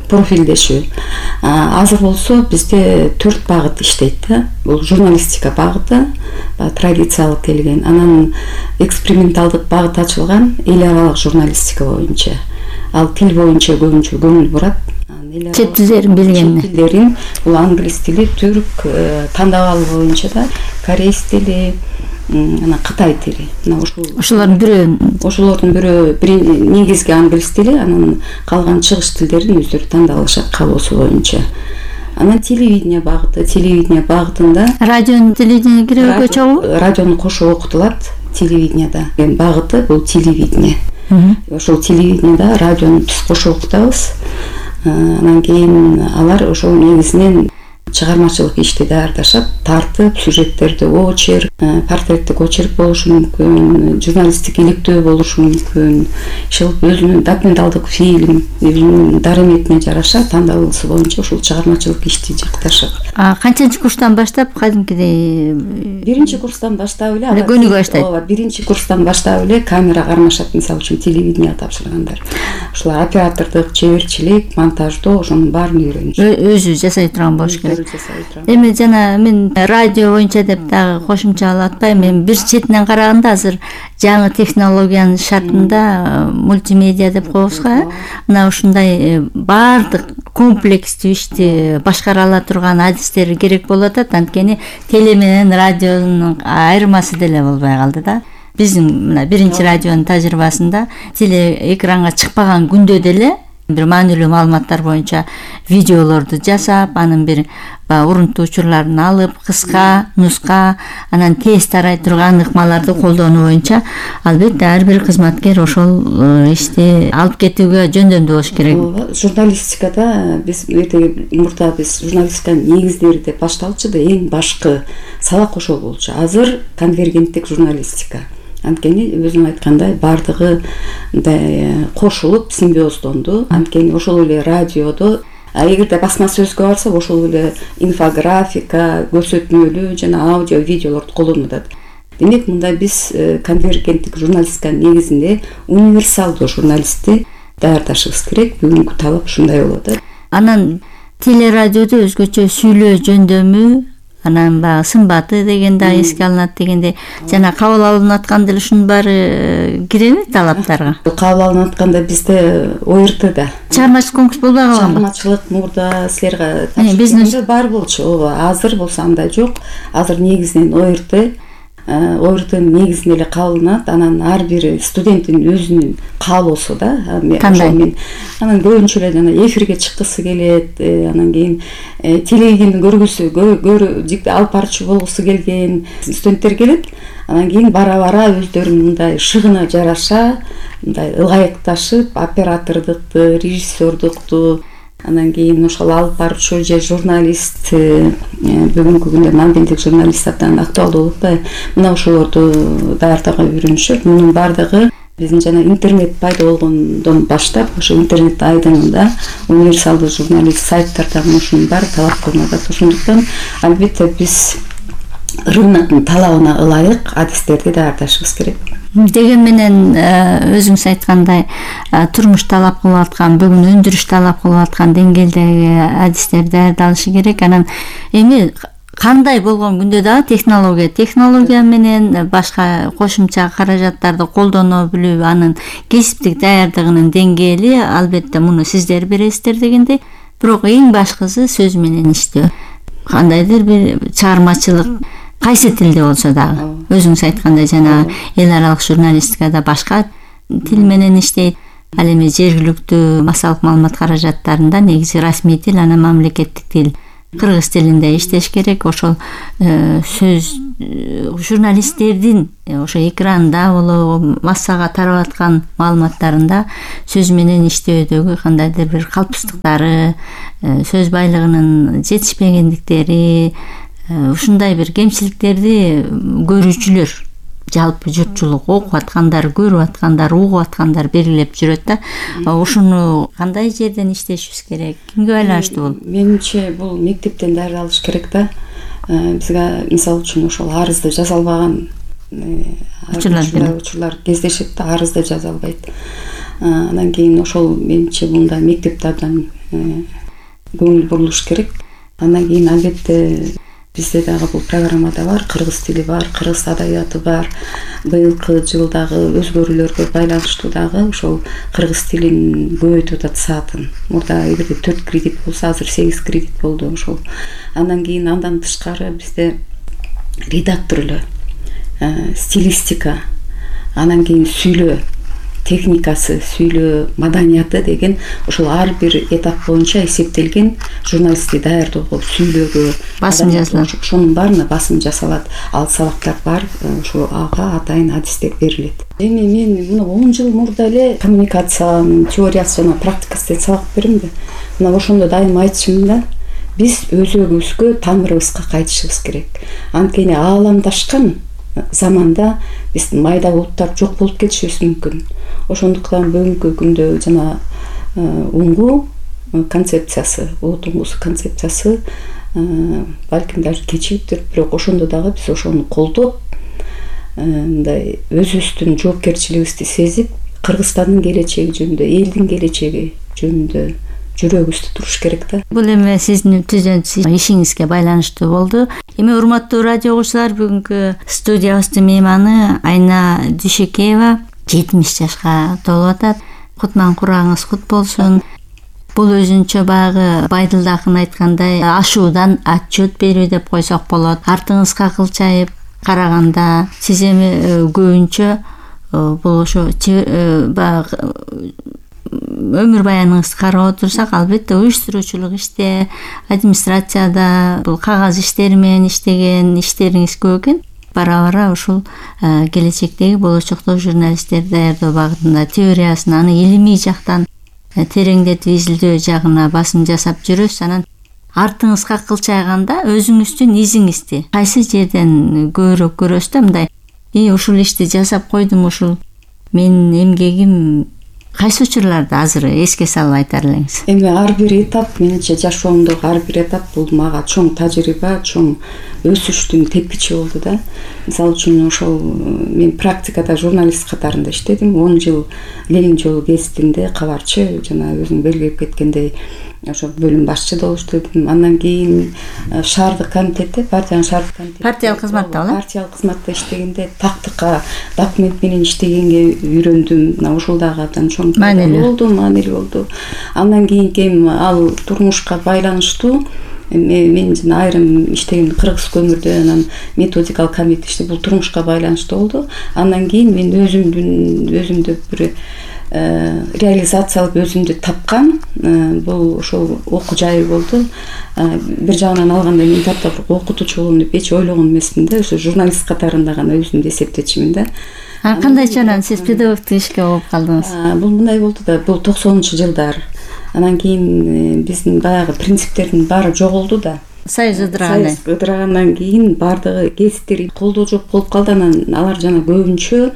профилдешүү. Азыр болсо бизде 4 багыт иштейт да. Бул журналистика багыты, традициялык келген. Анан эксперименталдык багыт ачылган, эл аралык журналистика боюнча. Ал тил боюнча көбүнчө көңүл бурат. Чет тилдерин билгенне. Чет тилдерин, бул англис тили, түрк, тандабал боюнча да, корейс тили, анан кытай тили. Мына ошолордун бирөө негизги англис тили, анан калган чыгыш тилдерин өздөрү тандап алышат каалоосу боюнча. Анан телевидение багытында радионун телевидение киреби чогуу? Радиону кошо окутулат телевиденияда. Багыты бул телевидение. Ошол телевидениеда радиону биз кошо окутабыз. Анан кийин алар ошол негизинен чыгармачылык ишти даярдашат, тартып, сюжеттерди очерк, портреттик очерк болушу мүмкүн, журналисттик иликтөө болушу мүмкүн, өзүнүн документалдык фильм, өзүнүн дарыметине жараша тандалуусу боюнча ушул чыгармачылык ишти жакташат. Канчанчы курстан баштап кадимкидей? Биринчи курстан баштап эле. Көнүгө баштайт. Ооба, биринчи курстан баштап эле камера кармашат, мисалы үчүн телевидение тапшыргандар. Ушулар оператордук, чеберчилик, монтаждоо ошонун баарын үйрөнүшөт. Өзү жасай турган болуш керек. Эми жана мен радио боюнча деп дагы кошумчалап атпайм. Мен бир четинен караганда азыр жаңы технологиянын шартында мультимедиа деп коебузга, мына ушундай баардык комплекстүү ишти башкара ала турган адистер керек болуп атат. Анткени теле менен радионун айырмасы деле болбой калды да. Биздин мына биринчи радионун тажрыйбасында теле экранга чыкпаган күндө деле бир маанилүү маалыматтар боюнча видеолорду жасап, анын бир урунтуу учурларын алып, кыска, нуска, анан тез тарай турган ыкмаларды колдонуу боюнча албетте ар бир кызматкер ошол ишти алып кетүүгө жөндөмдүү болуш керек. Журналистикада биз мурда биз журналистиканын негиздери деп башталчу да, эң башкы сабак ошол болчу. Азыр конвергенттик журналистика. Анткени өзүң айткандай баардыгы кошулуп симбиоздонду. Анткени ошол эле радиодо, эгерде басма сөзгө барсак, ошол эле инфографика, көрсөтмөлүү жана аудио, видеолорду колдонуп атат. Демек, мында биз конвергенттик журналистиканын негизинде универсалдуу журналистти даярдашыбыз керек. Бүгүнкү талап ушундай болуп атат. Анан телерадиодо өзгөчө сүйлөө жөндөмү, анан баягы сымбаты деген да эске алынат дегенде, жана кабыл алынып атканда эле ушунун баары киреби талаптарга? Кабыл алынып атканда бизде ОРТда чыгармачылык конкурс болбой калганбы? Чыгармачылык мурда силерге тапшырганда бар болчу. Ооба, азыр болсо андай жок. Азыр негизинен ОРТнын негизинен эле кабылынат. Анан ар бир студенттин өзүнүн каалоосу да. Мен анан көбүнчө эле жана эфирге чыккысы келет, анан кийин телевидениени көргүсү, алып барчу болгусу келген студенттер келет. Анан кийин бара-бара өздөрүнүн мындай шыгына жараша, мындай ылайыкташып, оператордукту, режиссердукту, анан кийин ошол алып барчу же журналист, бүгүнкү күндө мамлекеттик журналист абдан актуалдуу болуп атпайбы? Мына ошолорду даярдоого үйрөнүшөт. Мунун баардыгы биздин жана интернет пайда болгондон баштап, ошо интернет айдыңында универсалдуу журналист сайттарда ушунун баары талап кылынат. Ошондуктан албетте биз рыноктун талабына ылайык адистерди даярдашыбыз керек. Деген менен өзүңүз айткандай турмуш талап кылып аткан, бүгүн өндүрүш талап кылып аткан деңгээлдеги адистер даярдалышы керек. Анан эми кандай болгон күндө дагы технология менен башка кошумча каражаттарды колдоно билүү, анын кесиптик даярдыгынын деңгээли албетте муну сиздер бересиздер дегендей, бирок эң башкысы сөз менен иштөө. Кандайдыр бир чыгармачылык кайсы тилде болсо дагы, өзүңүз айткандай жанагы эл аралык журналистикада башка тил менен иштейт. Ал эми жергиликтүү массалык маалымат каражаттарында негизи расмий тил, анан мамлекеттик тил кыргыз тилинде иштеш керек. Ошол сөз журналисттердин ошо экранда болобу, массага тарап аткан маалыматтарында сөз менен иштөөдөгү кандайдыр бир калпсыздыктары, сөз байлыгынын жетишпегендиктери, ушундай бир кемчиликтерди көрүүчүлөр, жалпы журтчулук, окуп аткандар, көрүп аткандар, угуп аткандар белгилеп жүрөт да. Ушуну кандай жерден иштешибиз керек? Кимге байланыштуу бул? Менимче бул мектептен дарылалыш керек да. Бизге мисалы үчүн ошол арызды жаза албаган учурлар кездешет да, арызды жаза албайт. Анан кийин ошол менимче мында мектепте абдан көңүл бурулуш керек. Андан кийин албетте бизде дагы бул программада бар, кыргыз тили бар, кыргыз адабияты бар. Быйылкы жылдагы өзгөрүүлөргө байланыштуу дагы ошол кыргыз тилин көбөйтүп атат саатын. Мурда эгерде 4 кредит болсо, азыр 8 кредит болду ошол. Андан кийин андан тышкары бизде редакторлоо, стилистика, анан кийин сүйлөө техникасы, сүйлөө маданияты деген ошол ар бир этап боюнча эсептелген журналистти даярдоого, сүйлөөгө басым жасалат. Ошонун баарына басым жасалат. Ал сабактар бар, ошо ага атайын адистер берилет. Эми мен мына 10 жыл мурда эле коммуникациянын теориясы жана практикасы деп сабак бердим да. Мына ошондо дайым айтышым да, биз өзөгүбүзгө, тамырыбызга кайтышыбыз керек. Анткени ааламдашкан заманда биз майда булуттар жок болуп кетишибиз мүмкүн. Ошондуктан бүгүнкү күндө жана уңгу концепциясы, улут уңгусу концепциясы балким даже кечиктир, бирок ошондо дагы биз ошону колдоп, мындай өзүбүздүн жоопкерчилигибизди сезип, Кыргызстандын келечеги жөнүндө, элдин келечеги жөнүндө жүрөгүбүздө туруш керек да. Бул эми сиздин түзөнчү ишиңизге байланыштуу болду. Эми урматтуу радио угуучулар, бүгүнкү студиябыздын мейманы Айна Дүйшөкеева 70 жашка толуп атат. Кутман курагыңыз кут болсун. Бул өзүнчө баягы Байдылда акын айткандай ашуудан отчет берүү деп койсок болот. Артыңызга кылчайып караганда сиз эми көбүнчө бул ошо баягы өмүр баяныңызды карап отурсак, албетте уюштуруучулук иште, администрацияда бул кагаз иштери менен иштеген иштериңиз көп экен. Бара-бара ушул келечектеги болочокто журналисттерди даярдоо багытында теориясын, аны илимий жактан тереңдетип изилдөө жагына басым жасап жүрөсүз. Анан артыңызга кылчайганда өзүңүздүн изиңизди кайсы жерден көбүрөөк көрөсүз да, мындай ушул ишти жасап койдум, ушул менин эмгегим кайсы учурларда азыр эске салып айтар элеңиз? Эми ар бир этап, менимче жашоомдогу ар бир этап бул мага чоң тажрыйба, чоң өсүштүн тепкичи болду да. Мисалы үчүн ошол мен практикада журналист катарында иштедим. 10 жыл Ленин жолу гезитинде кабарчы, жана өзүң белгилеп кеткендей ошо бөлүм башчы болуп иштедим. Андан кийин шаардык комитетте, партиянын шаардык комитетте партиялык кызматта болот. Партиялык кызматта иштегенде тактыкка документ менен иштегенге үйрөндүм. Мына ошол дагы абдан чоң маанилүү болду. Андан кийин ал турмушка байланыштуу мен жана айрым иштеген кыргыз көмүрдө, анан методикалык комитет иште бул турмушка байланыштуу болду. Андан кийин мен өзүмдү бир реализациялык өзүмдү тапкан бул ошол окуу жайы болду. Бир жагынан алганда мен таптап окутуучу болом деп эч ойлогон эмесмин да, ошо журналист катарында гана өзүмдү эсептечимин да. Кандайча сиз педагогтук ишке болуп калдыңыз? Бул мындай болду да, бул 90-жылдар. Анан кийин биздин баягы принциптердин баары жоголду да. Союз ыдырагандан кийин баардыгы гезиттер колдоо жок болуп калды. Анан алар жана көбүнчө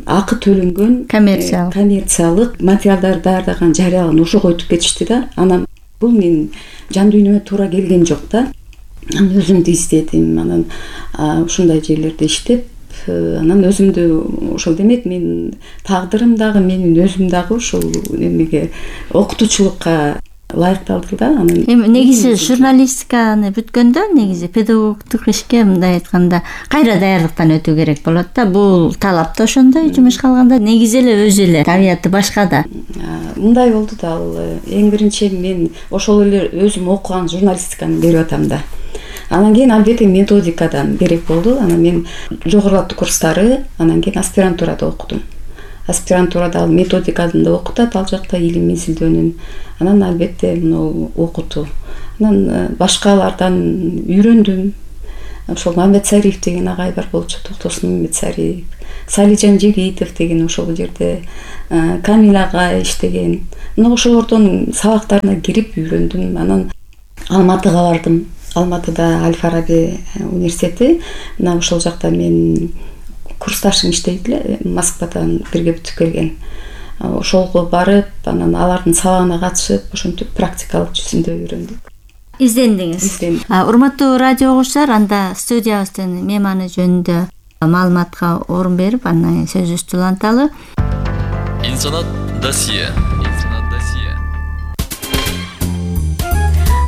акы төлөнгөн коммерциялык материалдар даярдаган, жарыялаган ошого өтүп кетишти да. Анан бул менин жан дүйнөмө туура келген жок да. Анан өзүмдү издедим. Анан ушундай жерлерде иштеп, анан өзүмдү ошол демек мен тагдырым дагы, менин өзүм дагы ушул эмеге окутуучулукка ылайыкталдым да. Анан эми негизи журналистиканы бүткөндө негизи педагогдук ишке мындай айтканда кайра даярдыктан өтүү керек болот да. Бул талап да ошондой жумушка алганда, негизи эле өзү эле табияты башка да. Мындай болду да, ал эң биринчи мен ошол эле өзүм окуган журналистиканы берип атам да. Анан кийин албетте методикадан керек болду. Анан мен жогорулатуу курстары, анан кийин аспирантурада окудум. Аспирантурада ал методиканы да окутат, ал жакта илим изилдөөнүн. Анан албетте мына окутуу. Анан башкалардан үйрөндүм. Ошол Мамедсариев деген агай бар болчу, Токтосун Мамедсариев, Салижан Жегитов деген ошол жерде, Камил агай иштеген. Мына ошолордун сабактарына кирип үйрөндүм. Анан Алматыга бардым. Алматыда Аль-Фараби университети, мына ошол жакта мен курсташым иштейт эле, Москвадан бирге бүтүп келген. Ошолго барып, анан алардын сабагына катышып, ошентип практикалык жүзүндө үйрөндүк. Издендиңиз. Урматтуу радио угуучулар, анда студиябыздын мейманы жөнүндө маалыматка орун берип, андан сөзүбүздү уланталы. Инсанат досье.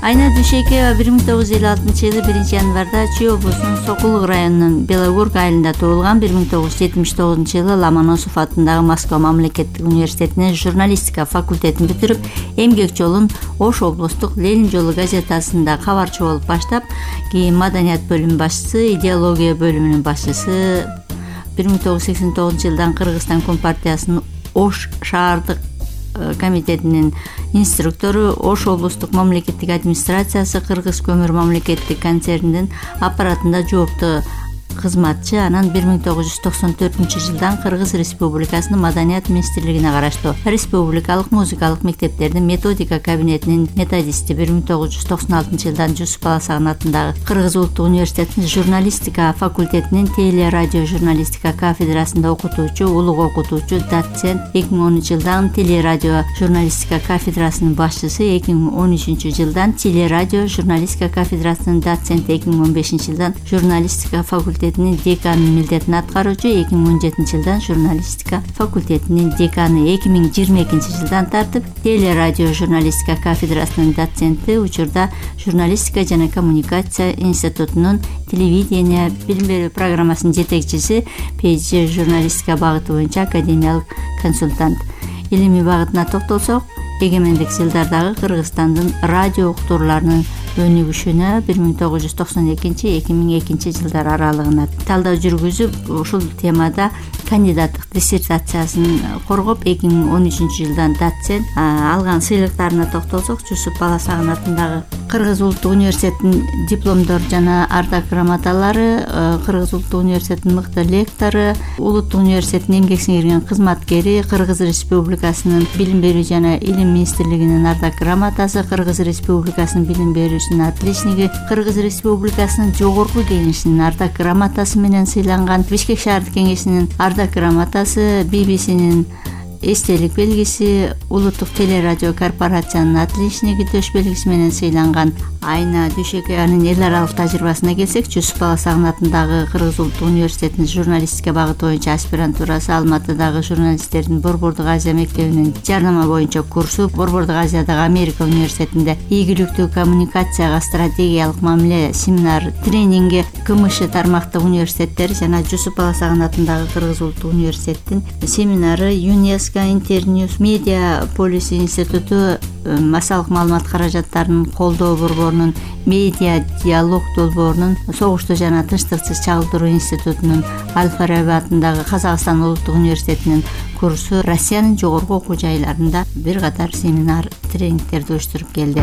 Айна Дүйшекова 1956 жылы 1 январда Чүй облусунун Сокулук районунун Белогорк айылында туулган. 1979 жылы Ломоносов атындагы Москва мамлекеттик университетинин журналистика факультетин бүтүрүп, эмгек жолун Ош облустук Ленин жолу газетасында кабарчы болуп баштап, кийин маданият бөлүмүнүн башчысы, идеология бөлүмүнүн башчысы, 1989 жылдан Кыргызстан Компартиясынын Ош шаардык комитетинин инструктору, Ош облустук мамлекеттик администрациясы Кыргыз көмүр мамлекеттик концернинин аппаратында жооптуу кызматчы. Анан 1994 жылдан Кыргыз Республикасынын Маданият министрлигине караштуу республикалык музыкалык мектептердин методика кабинетинин методисти. 1996 жылдан Жусуп Баласагын атындагы Кыргыз улуттук университетинин журналистика факультетинин теле радио журналистика кафедрасында окутуучу, улук окутуучу, доцент. 2010 жылдан теле радио журналистика кафедрасынын башчысы. 2013 жылдан теле радио журналистика кафедрасынын доценти. 2015 жылдан журналистика факультетинин деканынын милдетин аткаруучу. 2017 жылдан журналистика факультетинин деканы. 2022 жылдан тартып теле радио журналистика кафедрасынын доценти. Учурда журналистика жана коммуникация институтунун телевидение билим берүү программасынын жетекчиси, PhD журналистика багыты боюнча академиялык консультант. Илимий багытына токтолсок, эгемендик жылдардагы Кыргызстандын радио уктурууларынын өнүгүшүнө 1992-2002 жылдар аралыгында талдоо жүргүзүп, ушул темада кандидаттык диссертациясын коргоп, 2013 жылдан доцент. Алган сыйлыктарына токтолсок, Жусуп Баласагын атындагы Кыргыз улуттук университетинин дипломдор жана ардак грамоталары, Кыргыз улуттук университетинин мыкты лектору, улуттук университеттин эмгек сиңирген кызматкери, Кыргыз Республикасынын билим берүү жана илим министрлигинин ардак грамотасы, Кыргыз Республикасынын билим берүүсүнүн отличниги, Кыргыз Республикасынын жогорку кеңешинин ардак грамотасы менен сыйланган, Бишкек шаардык кеңешинин ардак грамотасы, BBC-нин эстелик белгиси, улуттук телерадио корпорациянын отличниги төш белгиси менен сыйланган. Айна Дүйшекованын эл аралык тажрыйбасына келсек, Жусуп Баласагын атындагы Кыргыз улуттук университетинин журналистика багыты боюнча аспирантурасы, Алматыдагы журналисттердин Борбордук Азия мектебинин жарнама боюнча курсу, Борбордук Азиядагы Америка университетинде ийгиликтүү коммуникацияга стратегиялык мамиле семинар тренинги, КМШ тармактык университеттери жана Жусуп Баласагын атындагы Кыргыз улуттук университеттин семинары, ЮНЕСКО, Интерньюс, Медиа Полиси институту, массалык маалымат каражаттарынын колдоо борборунун, Медиа диалог долбоорунун, Согушту жана тынчтыксыз чагылдыруу институтунун, Аль-Фараби атындагы Казакстан улуттук университетинин курсу, Россиянын жогорку окуу жайларында бир катар семинар, тренингтерди уюштуруп келди.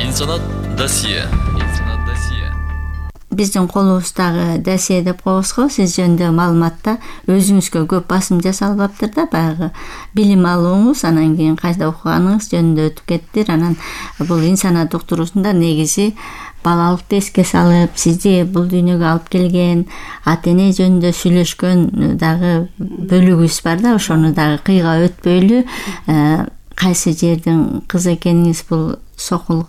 Инсанат досье. Биздин колубуздагы досье деп коебуз го, сиз жөнүндө маалыматта өзүңүзгө көп басым жасалбаптыр да, баягы билим алууңуз, анан кийин кайда окуганыңыз жөнүндө өтүп кеттир. Анан бул инсанат уктуруусунда негизи балалыкты эске салып, сизди бул дүйнөгө алып келген ата эне жөнүндө сүйлөшкөн дагы бөлүгүбүз бар да, ошону дагы кыйга өтпөйлү. Кайсы жердин кызы экениңиз, бул Сокулук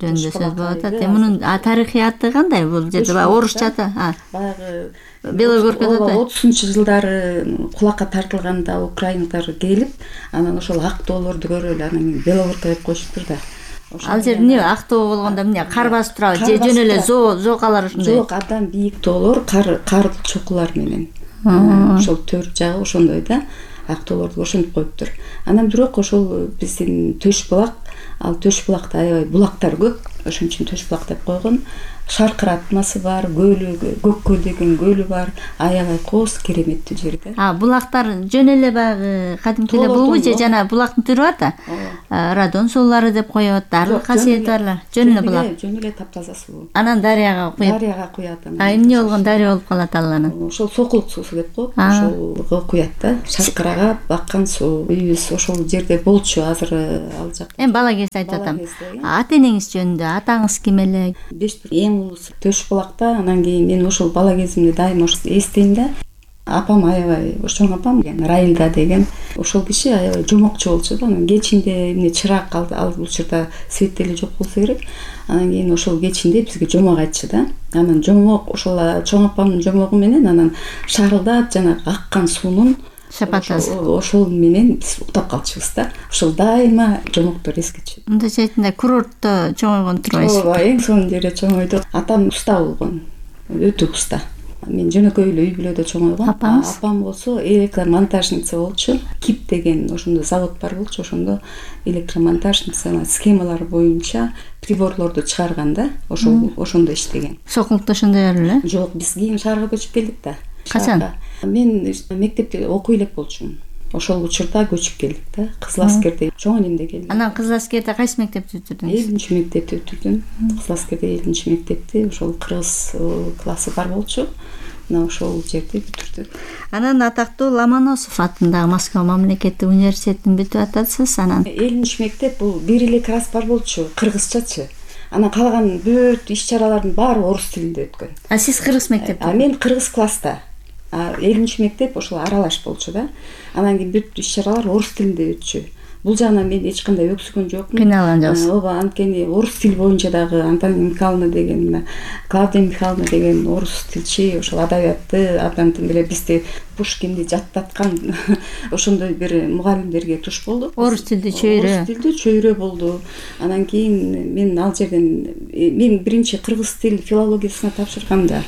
жөнүндө сөз болуп атат. Мунун тарыхыяты кандай бул жерде? Орусчада баягы Белогоркада 30-жылдары кулакка тартылганда украиналар келип, анан ошол Актоолорду көрүп эле анан Белогорка деп коюшуптур да. Ал жер эмне Актоо болгондо эмне кар басып турабы? Же жөн эле зоокалар ушундай? Жок, абдан бийик тоолор, кар чокулар менен. Ошол төр жагы ошондой да. Актоолорду ошентип коюптур. Анан бирок ошол биздин Төш булак, ал Төш булакта аябай булактар көп. Ошон үчүн Төш булак деп койгон. Шаркыратмасы бар, көлү, Көк көл деген көлү бар. Аябай кооз кереметтүү жер да. Булактар жөн эле баягы кадимки эле булбу же жана булактын түрү бар да? Радон суулары деп коет, дары касиети барлар. Жөн эле булак. Жөн эле таптаза суу. Анан дарыяга куюп. Дарыяга куят. Эмне болгон дарыя болуп калат ал анан? Ошол сокулук суусу деп коет. Ошолго куят да. Шаркырага баккан суу. Үйүбүз ошол жерде болчу, азыр ал жакта. Эми бала кезде айтып атам. Ата энеңиз жөнүндө, атаңыз ким эле? Эң улуусу Төш булакта. Анан кийин мен ошол бала кезимде дайыма эстейм да. Апам аябай, чоң апам Раилда деген ошол киши аябай жомокчу болчу да. Анан кечинде эмне чырак ал учурда свет деле жок болсо керек. Анан кийин ошол кечинде бизге жомок айтчу да. Анан жомок ошол чоң апамдын жомогу менен анан шарылдап жанагы аккан суунун шапатасы. Ошол менен биз уктап калчубуз да. Ошол дайыма жомоктор эскечү. Мындайча айтканда курортто чоңойгон турбайсыз. Ооба, эң сонун жерде чоңойдук. Атам уста болгон. Өтө уста. Мен жөнөкөй эле үй бүлөдө чоңойгом. Апам болсо электромонтажница болчу. КИП деген ошондо завод бар болчу. Ошондо электромонтажница схемалар боюнча приборлорду чыгарган да. Ошондо иштеген. Сокулукта ошондой эле? Жок, биз кийин шаарга көчүп келдик да. Качан? Мен мектепте окуй элек болчумун. Ошол учурда көчүп келдик да. Кызыл аскерде чоң энемде келди. Анан Кызыл аскерде кайсы мектепти бүтүрдүңүз? 7-мектепти бүтүрдүм. Кызыл аскерде 7-мектепти, ошол кыргыз классы бар болчу. Мына ошол жерде бүтүрдүк. Анан атактуу Ломоносов атындагы Москва мамлекеттик университетин бүтүп атасыз. Анан 7-мектеп бул бир эле класс бар болчу, кыргызчачы. Анан калган бүт иш-чаралардын баары орус тилинде өткөн. Сиз кыргыз мектепте? Мен кыргыз класста. 7-мектеп ошол аралаш болчу да. Анан кийин бүт иш-чаралар орус тилинде өтчү. Бул жагынан мен эч кандай өксүгөн жокмун. Кыйналган жоксуз. Ооба, анткени орус тил боюнча дагы Антонина Михайловна деген, Клавдия Михайловна деген орус тилчи, ошол адабиятты абдан тим эле бизди Пушкинди жаттаткан ошондой бир мугалимдерге туш болдук. Орус тилди чөйрө. Орус тилди чөйрө болду. Анан кийин мен ал жерден мен биринчи кыргыз тил филологиясына тапшырганда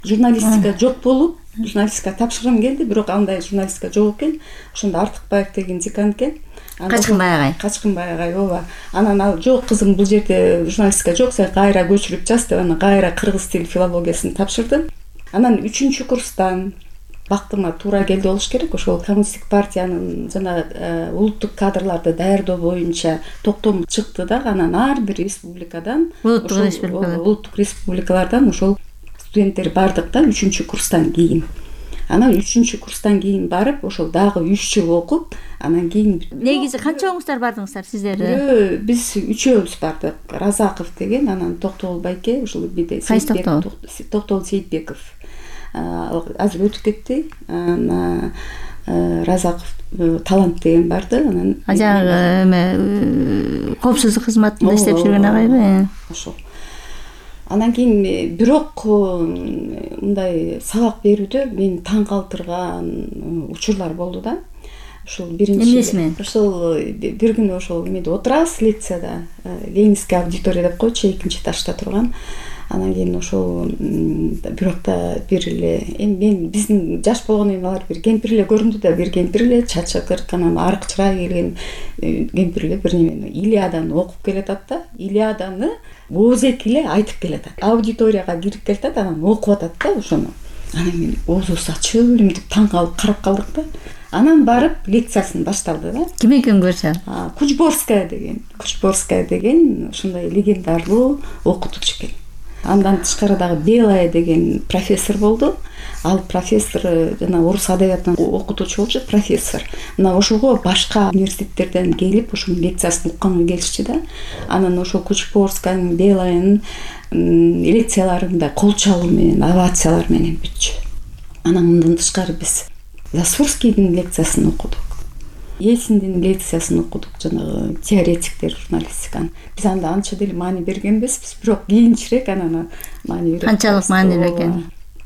журналистика жок болуп, журналистика тапшыргым келди, бирок андай журналистика жок экен. Ошондо Артыкбаев деген декан экен. Качкынбай агай, ооба. Анан ал жок кызым, бул жерде журналистика жок, сен кайра көчүрүп жаз деп, анан кайра кыргыз тил филологиясын тапшырдым. Анан 3-курстан бактыма туура келди болуш керек. Ошол коммунисттик партиянын жана улуттук кадрларды даярдоо боюнча токтом чыкты да. Анан ар бир республикадан, улуттук республикалардан ошол студенттер бардык да 3-курстан кийин. Анан 3-курстан кийин барып, ошол дагы 3 жыл окуп, анан кийин негизи канчаңыздар бардыңыздар сиздер? Биз 3-өбүз бардык. Разаков деген, анан Токтогул байке, ошол биде Токтогул Сейитбеков. Азыр өтүп кетти. Анан Разаков Талант деген барды. Анан жагы эме коопсуздук кызматында иштеп жүргөн агайбы? Ошол. Анан кийин бирок мындай сабак берүүдө мен таң калтырган учурлар болду да. Ошол биринчи ошол бир күнү ошол эмеде отурабыз лекцияда, Ленинский аудитория деп койчу, экинчи этажда турган. Анан кийин ошол бирок да бир эле мен биздин жаш болгондон кийин алар бир кемпир эле көрүндү да, бир кемпир эле чачы кырк, анан арык чырай келген кемпир эле бир немени Илиаданы окуп келатат да. Илиаданы оозеки эле айтып келатат. Аудиторияга кирип келатат, анан окуп атат да ошону. Анан мен оозубуз ачып элемтип таң калып карап калдык да. Анан барып лекциясын башталды да. Ким экен көрсө? Кучборская деген ошондой легендарлуу окутуучу экен. Андан тышкары дагы Белая деген профессор болду. Ал профессор жана орус адабиятынан окутуучу болчу, профессор. Мына ошого башка университеттерден келип ошонун лекциясын укканга келишчи да. Анан ошол Кучборскаянын, Белаянын лекцияларында кол чалуу менен, овациялар менен бүтчү. Анан мындан тышкары биз Засурскийдин лекциясын окудук. Ельциндин лекциясын окудук, жанагы теоретиктер журналистиканын. Биз анда анча деле маани бергенбизбиз, бирок кийинчерээк анан маани берип. Канчалык маанилүү экен?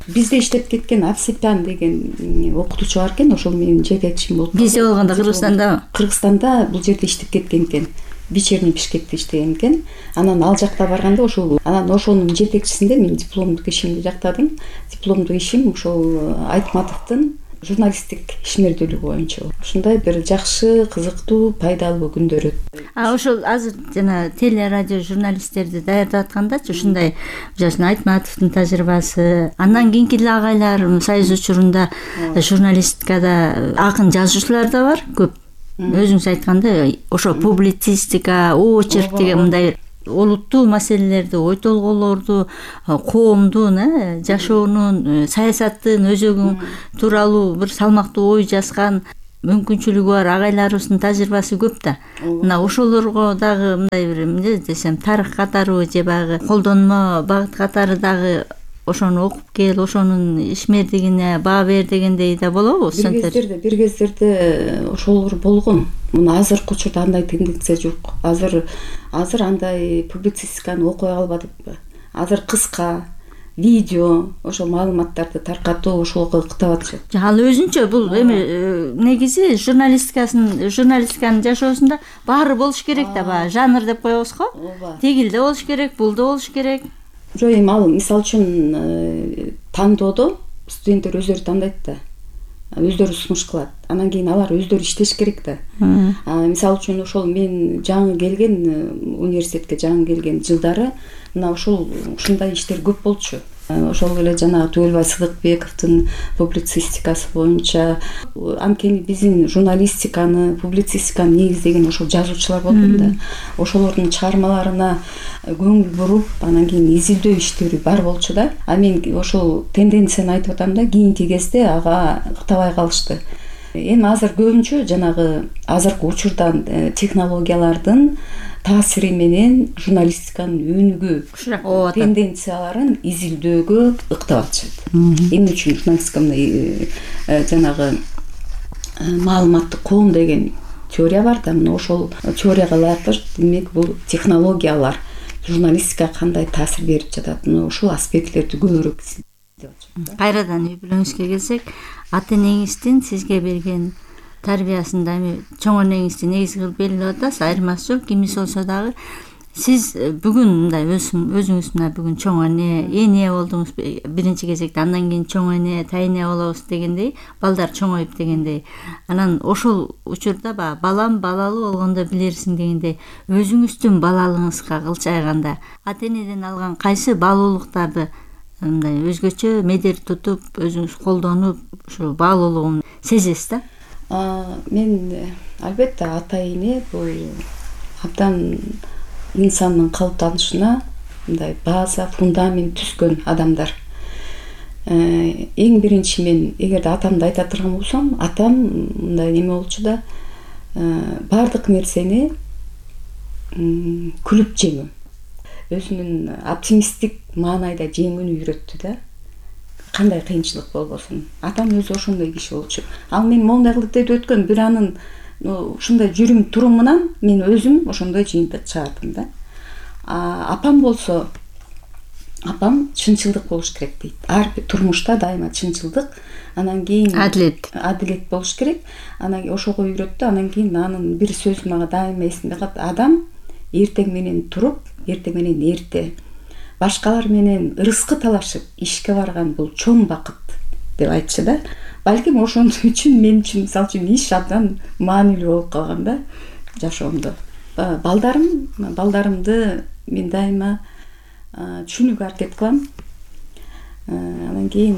Бизде иштеп кеткен Авсепян деген окутуучу бар экен, ошол менин жетекчим болуп. Бизде болгондо Кыргызстанда? Кыргызстанда бул жерде иштеп кеткен экен. Вечерний Бишкекте иштеген экен. Анан ал жакка барганда ошонун жетекчисинде мен дипломдук ишимди жактадым. Дипломдук ишим ошол Айтматовдун журналисттик ишмердүүлүгү боюнча. Ушундай бир жакшы, кызыктуу, пайдалуу күндөр өттү. Ошол азыр жана теле радио журналисттерди даярдап аткандачы ушундай жашын Айтматовдун тажрыйбасы, андан кийинки эле агайлар Союз учурунда журналистикада акын жазуучулар да бар көп. Өзүңүз айткандай, ошо публицистика, очерк деген мындай олуттуу маселелерди, ой толгоолорду, коомдун жашоонун, саясаттын өзөгү тууралуу бир салмактуу ой жазган мүмкүнчүлүгү бар агайларыбыздын тажрыйбасы көп да. Мына ошолорго дагы мындай бир эмне десем, тарых катары же баягы колдонмо багыт катары дагы ошону окуп кел, ошонун ишмердигине баа бер дегендей да болобу? Бир кездерде ошолор болгон. Мына азыркы учурда андай тенденция жок. Азыр андай публицистиканы окуй албадыкпы? Азыр кыска видео, ошол маалыматтарды таркатуу ошолго ыктап атышат. Ал өзүнчө бул эми негизи журналистиканын жашоосунда баары болуш керек да, баягы жанр деп коебуз го. Тигил да болуш керек, бул да болуш керек. Жок, эми ал мисалы үчүн тандоодо студенттер өздөрү тандайт да, өздөрү сунуш кылат. Анан кийин алар өздөрү иштеш керек да. Мисалы үчүн ошол мен жаңы келген университетке жаңы келген жылдары мына ушундай иштер көп болчу. Ошол эле жанагы Түгөлбай Сыдыкбековдун публицистикасы боюнча, анткени биздин журналистиканы, публицистиканы негиздеген ошол жазуучулар болгон да. Ошолордун чыгармаларына көңүл буруп, анан кийин изилдөө иштери бар болчу да. А мен ошол тенденцияны айтып атам да, кийинки кезде ага ыктабай калышты. Эми азыр көбүнчө жанагы азыркы учурдан технологиялардын таасири менен журналистиканын өнүгүү тенденцияларын изилдөөгө ыктап атышат. Эмне үчүн журналистика мындай жанагы маалыматтык коом деген теория бар да, мына ошол теорияга ылайыктуу демек бул технологиялар журналистикага кандай таасир берип жатат, мына ушул аспектлерди көбүрөөк изилдеп атышат. Кайрадан үй бүлөңүзгө келсек, ата энеңиздин сизге берген тарбиясында эми чоң энеңизди негизи кылып белгилеп атасыз, айырмасы жок. Кимис болсо дагы сиз бүгүн мындай өзүңүз мына бүгүн чоң эне болдуңуз биринчи кезекте, андан кийин чоң эне, тайэне болобуз дегендей, балдар чоңоюп дегендей. Анан ошол учурда балам балалуу болгондо билерсиң дегендей, өзүңүздүн балалыгыңызга кылчайганда ата энеден алган кайсы баалуулуктарды мындай өзгөчө медер тутуп, өзүңүз колдонуп, ушул баалуулугун сезесиз да? Мен албетте ата эне бул абдан инсандын калыптанышына мындай база, фундамент түзгөн адамдар. Эң биринчи мен эгерде атамды айта турган болсом, атам мындай неме болчу да, баардык нерсени күлүп жеңүү, өзүнүн оптимисттик маанайда жеңүүнү үйрөттү да. Кандай кыйынчылык болбосун. Атам өзү ошондой киши болчу. Ал мен моундай кылып деп өткөн бир анын ушундай жүрүм турумунан мен өзүм ошондой жыйынтык чыгардым да. Апам болсо, апам чынчылдык болуш керек дейт. Ар бир турмушта дайыма чынчылдык, анан кийин адилет болуш керек. Анан ошого үйрөттү. Анан кийин анын бир сөзү мага дайыма эсимде калат. Адам эртең менен туруп, эртең менен эрте башкалар менен ырыскы талашып ишке барган бул чоң бакыт деп айтчу да. Балким ошон үчүн мен үчүн мисалы үчүн иш абдан маанилүү болуп калган да жашоомдо. Балдарымды мен дайыма түшүнүүгө аракет кылам. Анан кийин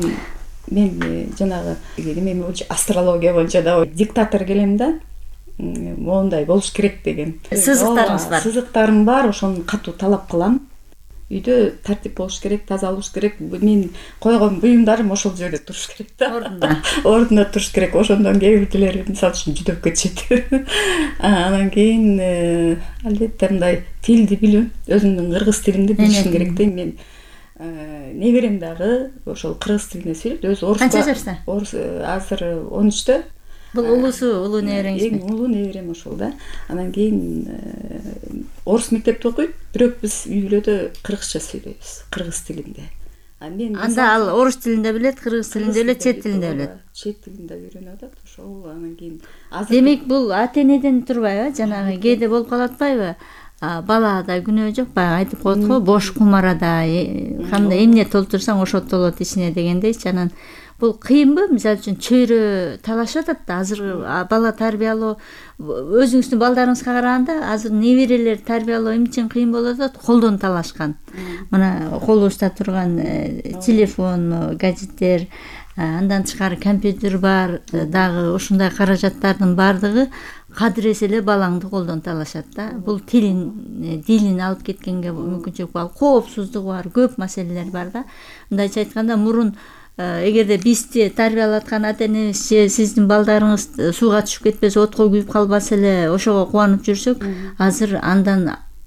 мен жанагы эме астрология боюнча да диктатор келем да. Моундай болуш керек деген сызыктарыңыз бар. Сызыктарым бар, ошону катуу талап кылам. Үйдө тартип болуш керек, таза болуш керек. Мен койгон буюмдарым ошол жерде туруш керек да. Ордуна туруш керек. Ошондон кээ бирдилери мисалы үчүн жүдөп кетишет. Анан кийин албетте мындай тилди билүү, өзүмдүн кыргыз тилимди билишим керек да. Мен неберем дагы ошол кыргыз тилинде сүйлөйт. Өзү орус. Канча жашта? Орус азыр 13-тө. Бул улуу небереңиз? Эң улуу неберем ошол да. Анан кийин орус мектепте окуйт, бирок биз үй бүлөдө кыргызча сүйлөйбүз, кыргыз тилинде. Анда ал орус тилинде билет, кыргыз тилинде билет, чет тилинде билет. Чет тилинде үйрөнүп атат ошол. Анан кийин демек бул ата-энеден турбайбы? Жанагы кээде болуп калып атпайбы? Балада күнөө жок, баягы айтып коет го, бош кумарада кандай эмне толтурсаң ошо толот ичине дегендейчи. Анан бул кыйынбы? Мисалы үчүн чөйрө талашып атат да, азыр бала тарбиялоо өзүңүздүн балдарыңызга караганда азыр неберелер тарбиялоо эмне үчүн кыйын болуп атат? Колдон талашкан. Мына колубузда турган телефон, гаджеттер, андан тышкары компьютер бар, дагы ушундай каражаттардын баардыгы кадыресе эле балаңды колдон талашат да. Бул дилин алып кеткенге мүмкүнчүлүк бар, коопсуздугу бар, көп маселелер бар да. Мындайча айтканда мурун эгерде бизди тарбиялаткан ата-энебиз же сиздин балдарыңыз сууга түшүп кетпесе, отко күйүп калбаса эле ошого кубанып жүрсөк, азыр андан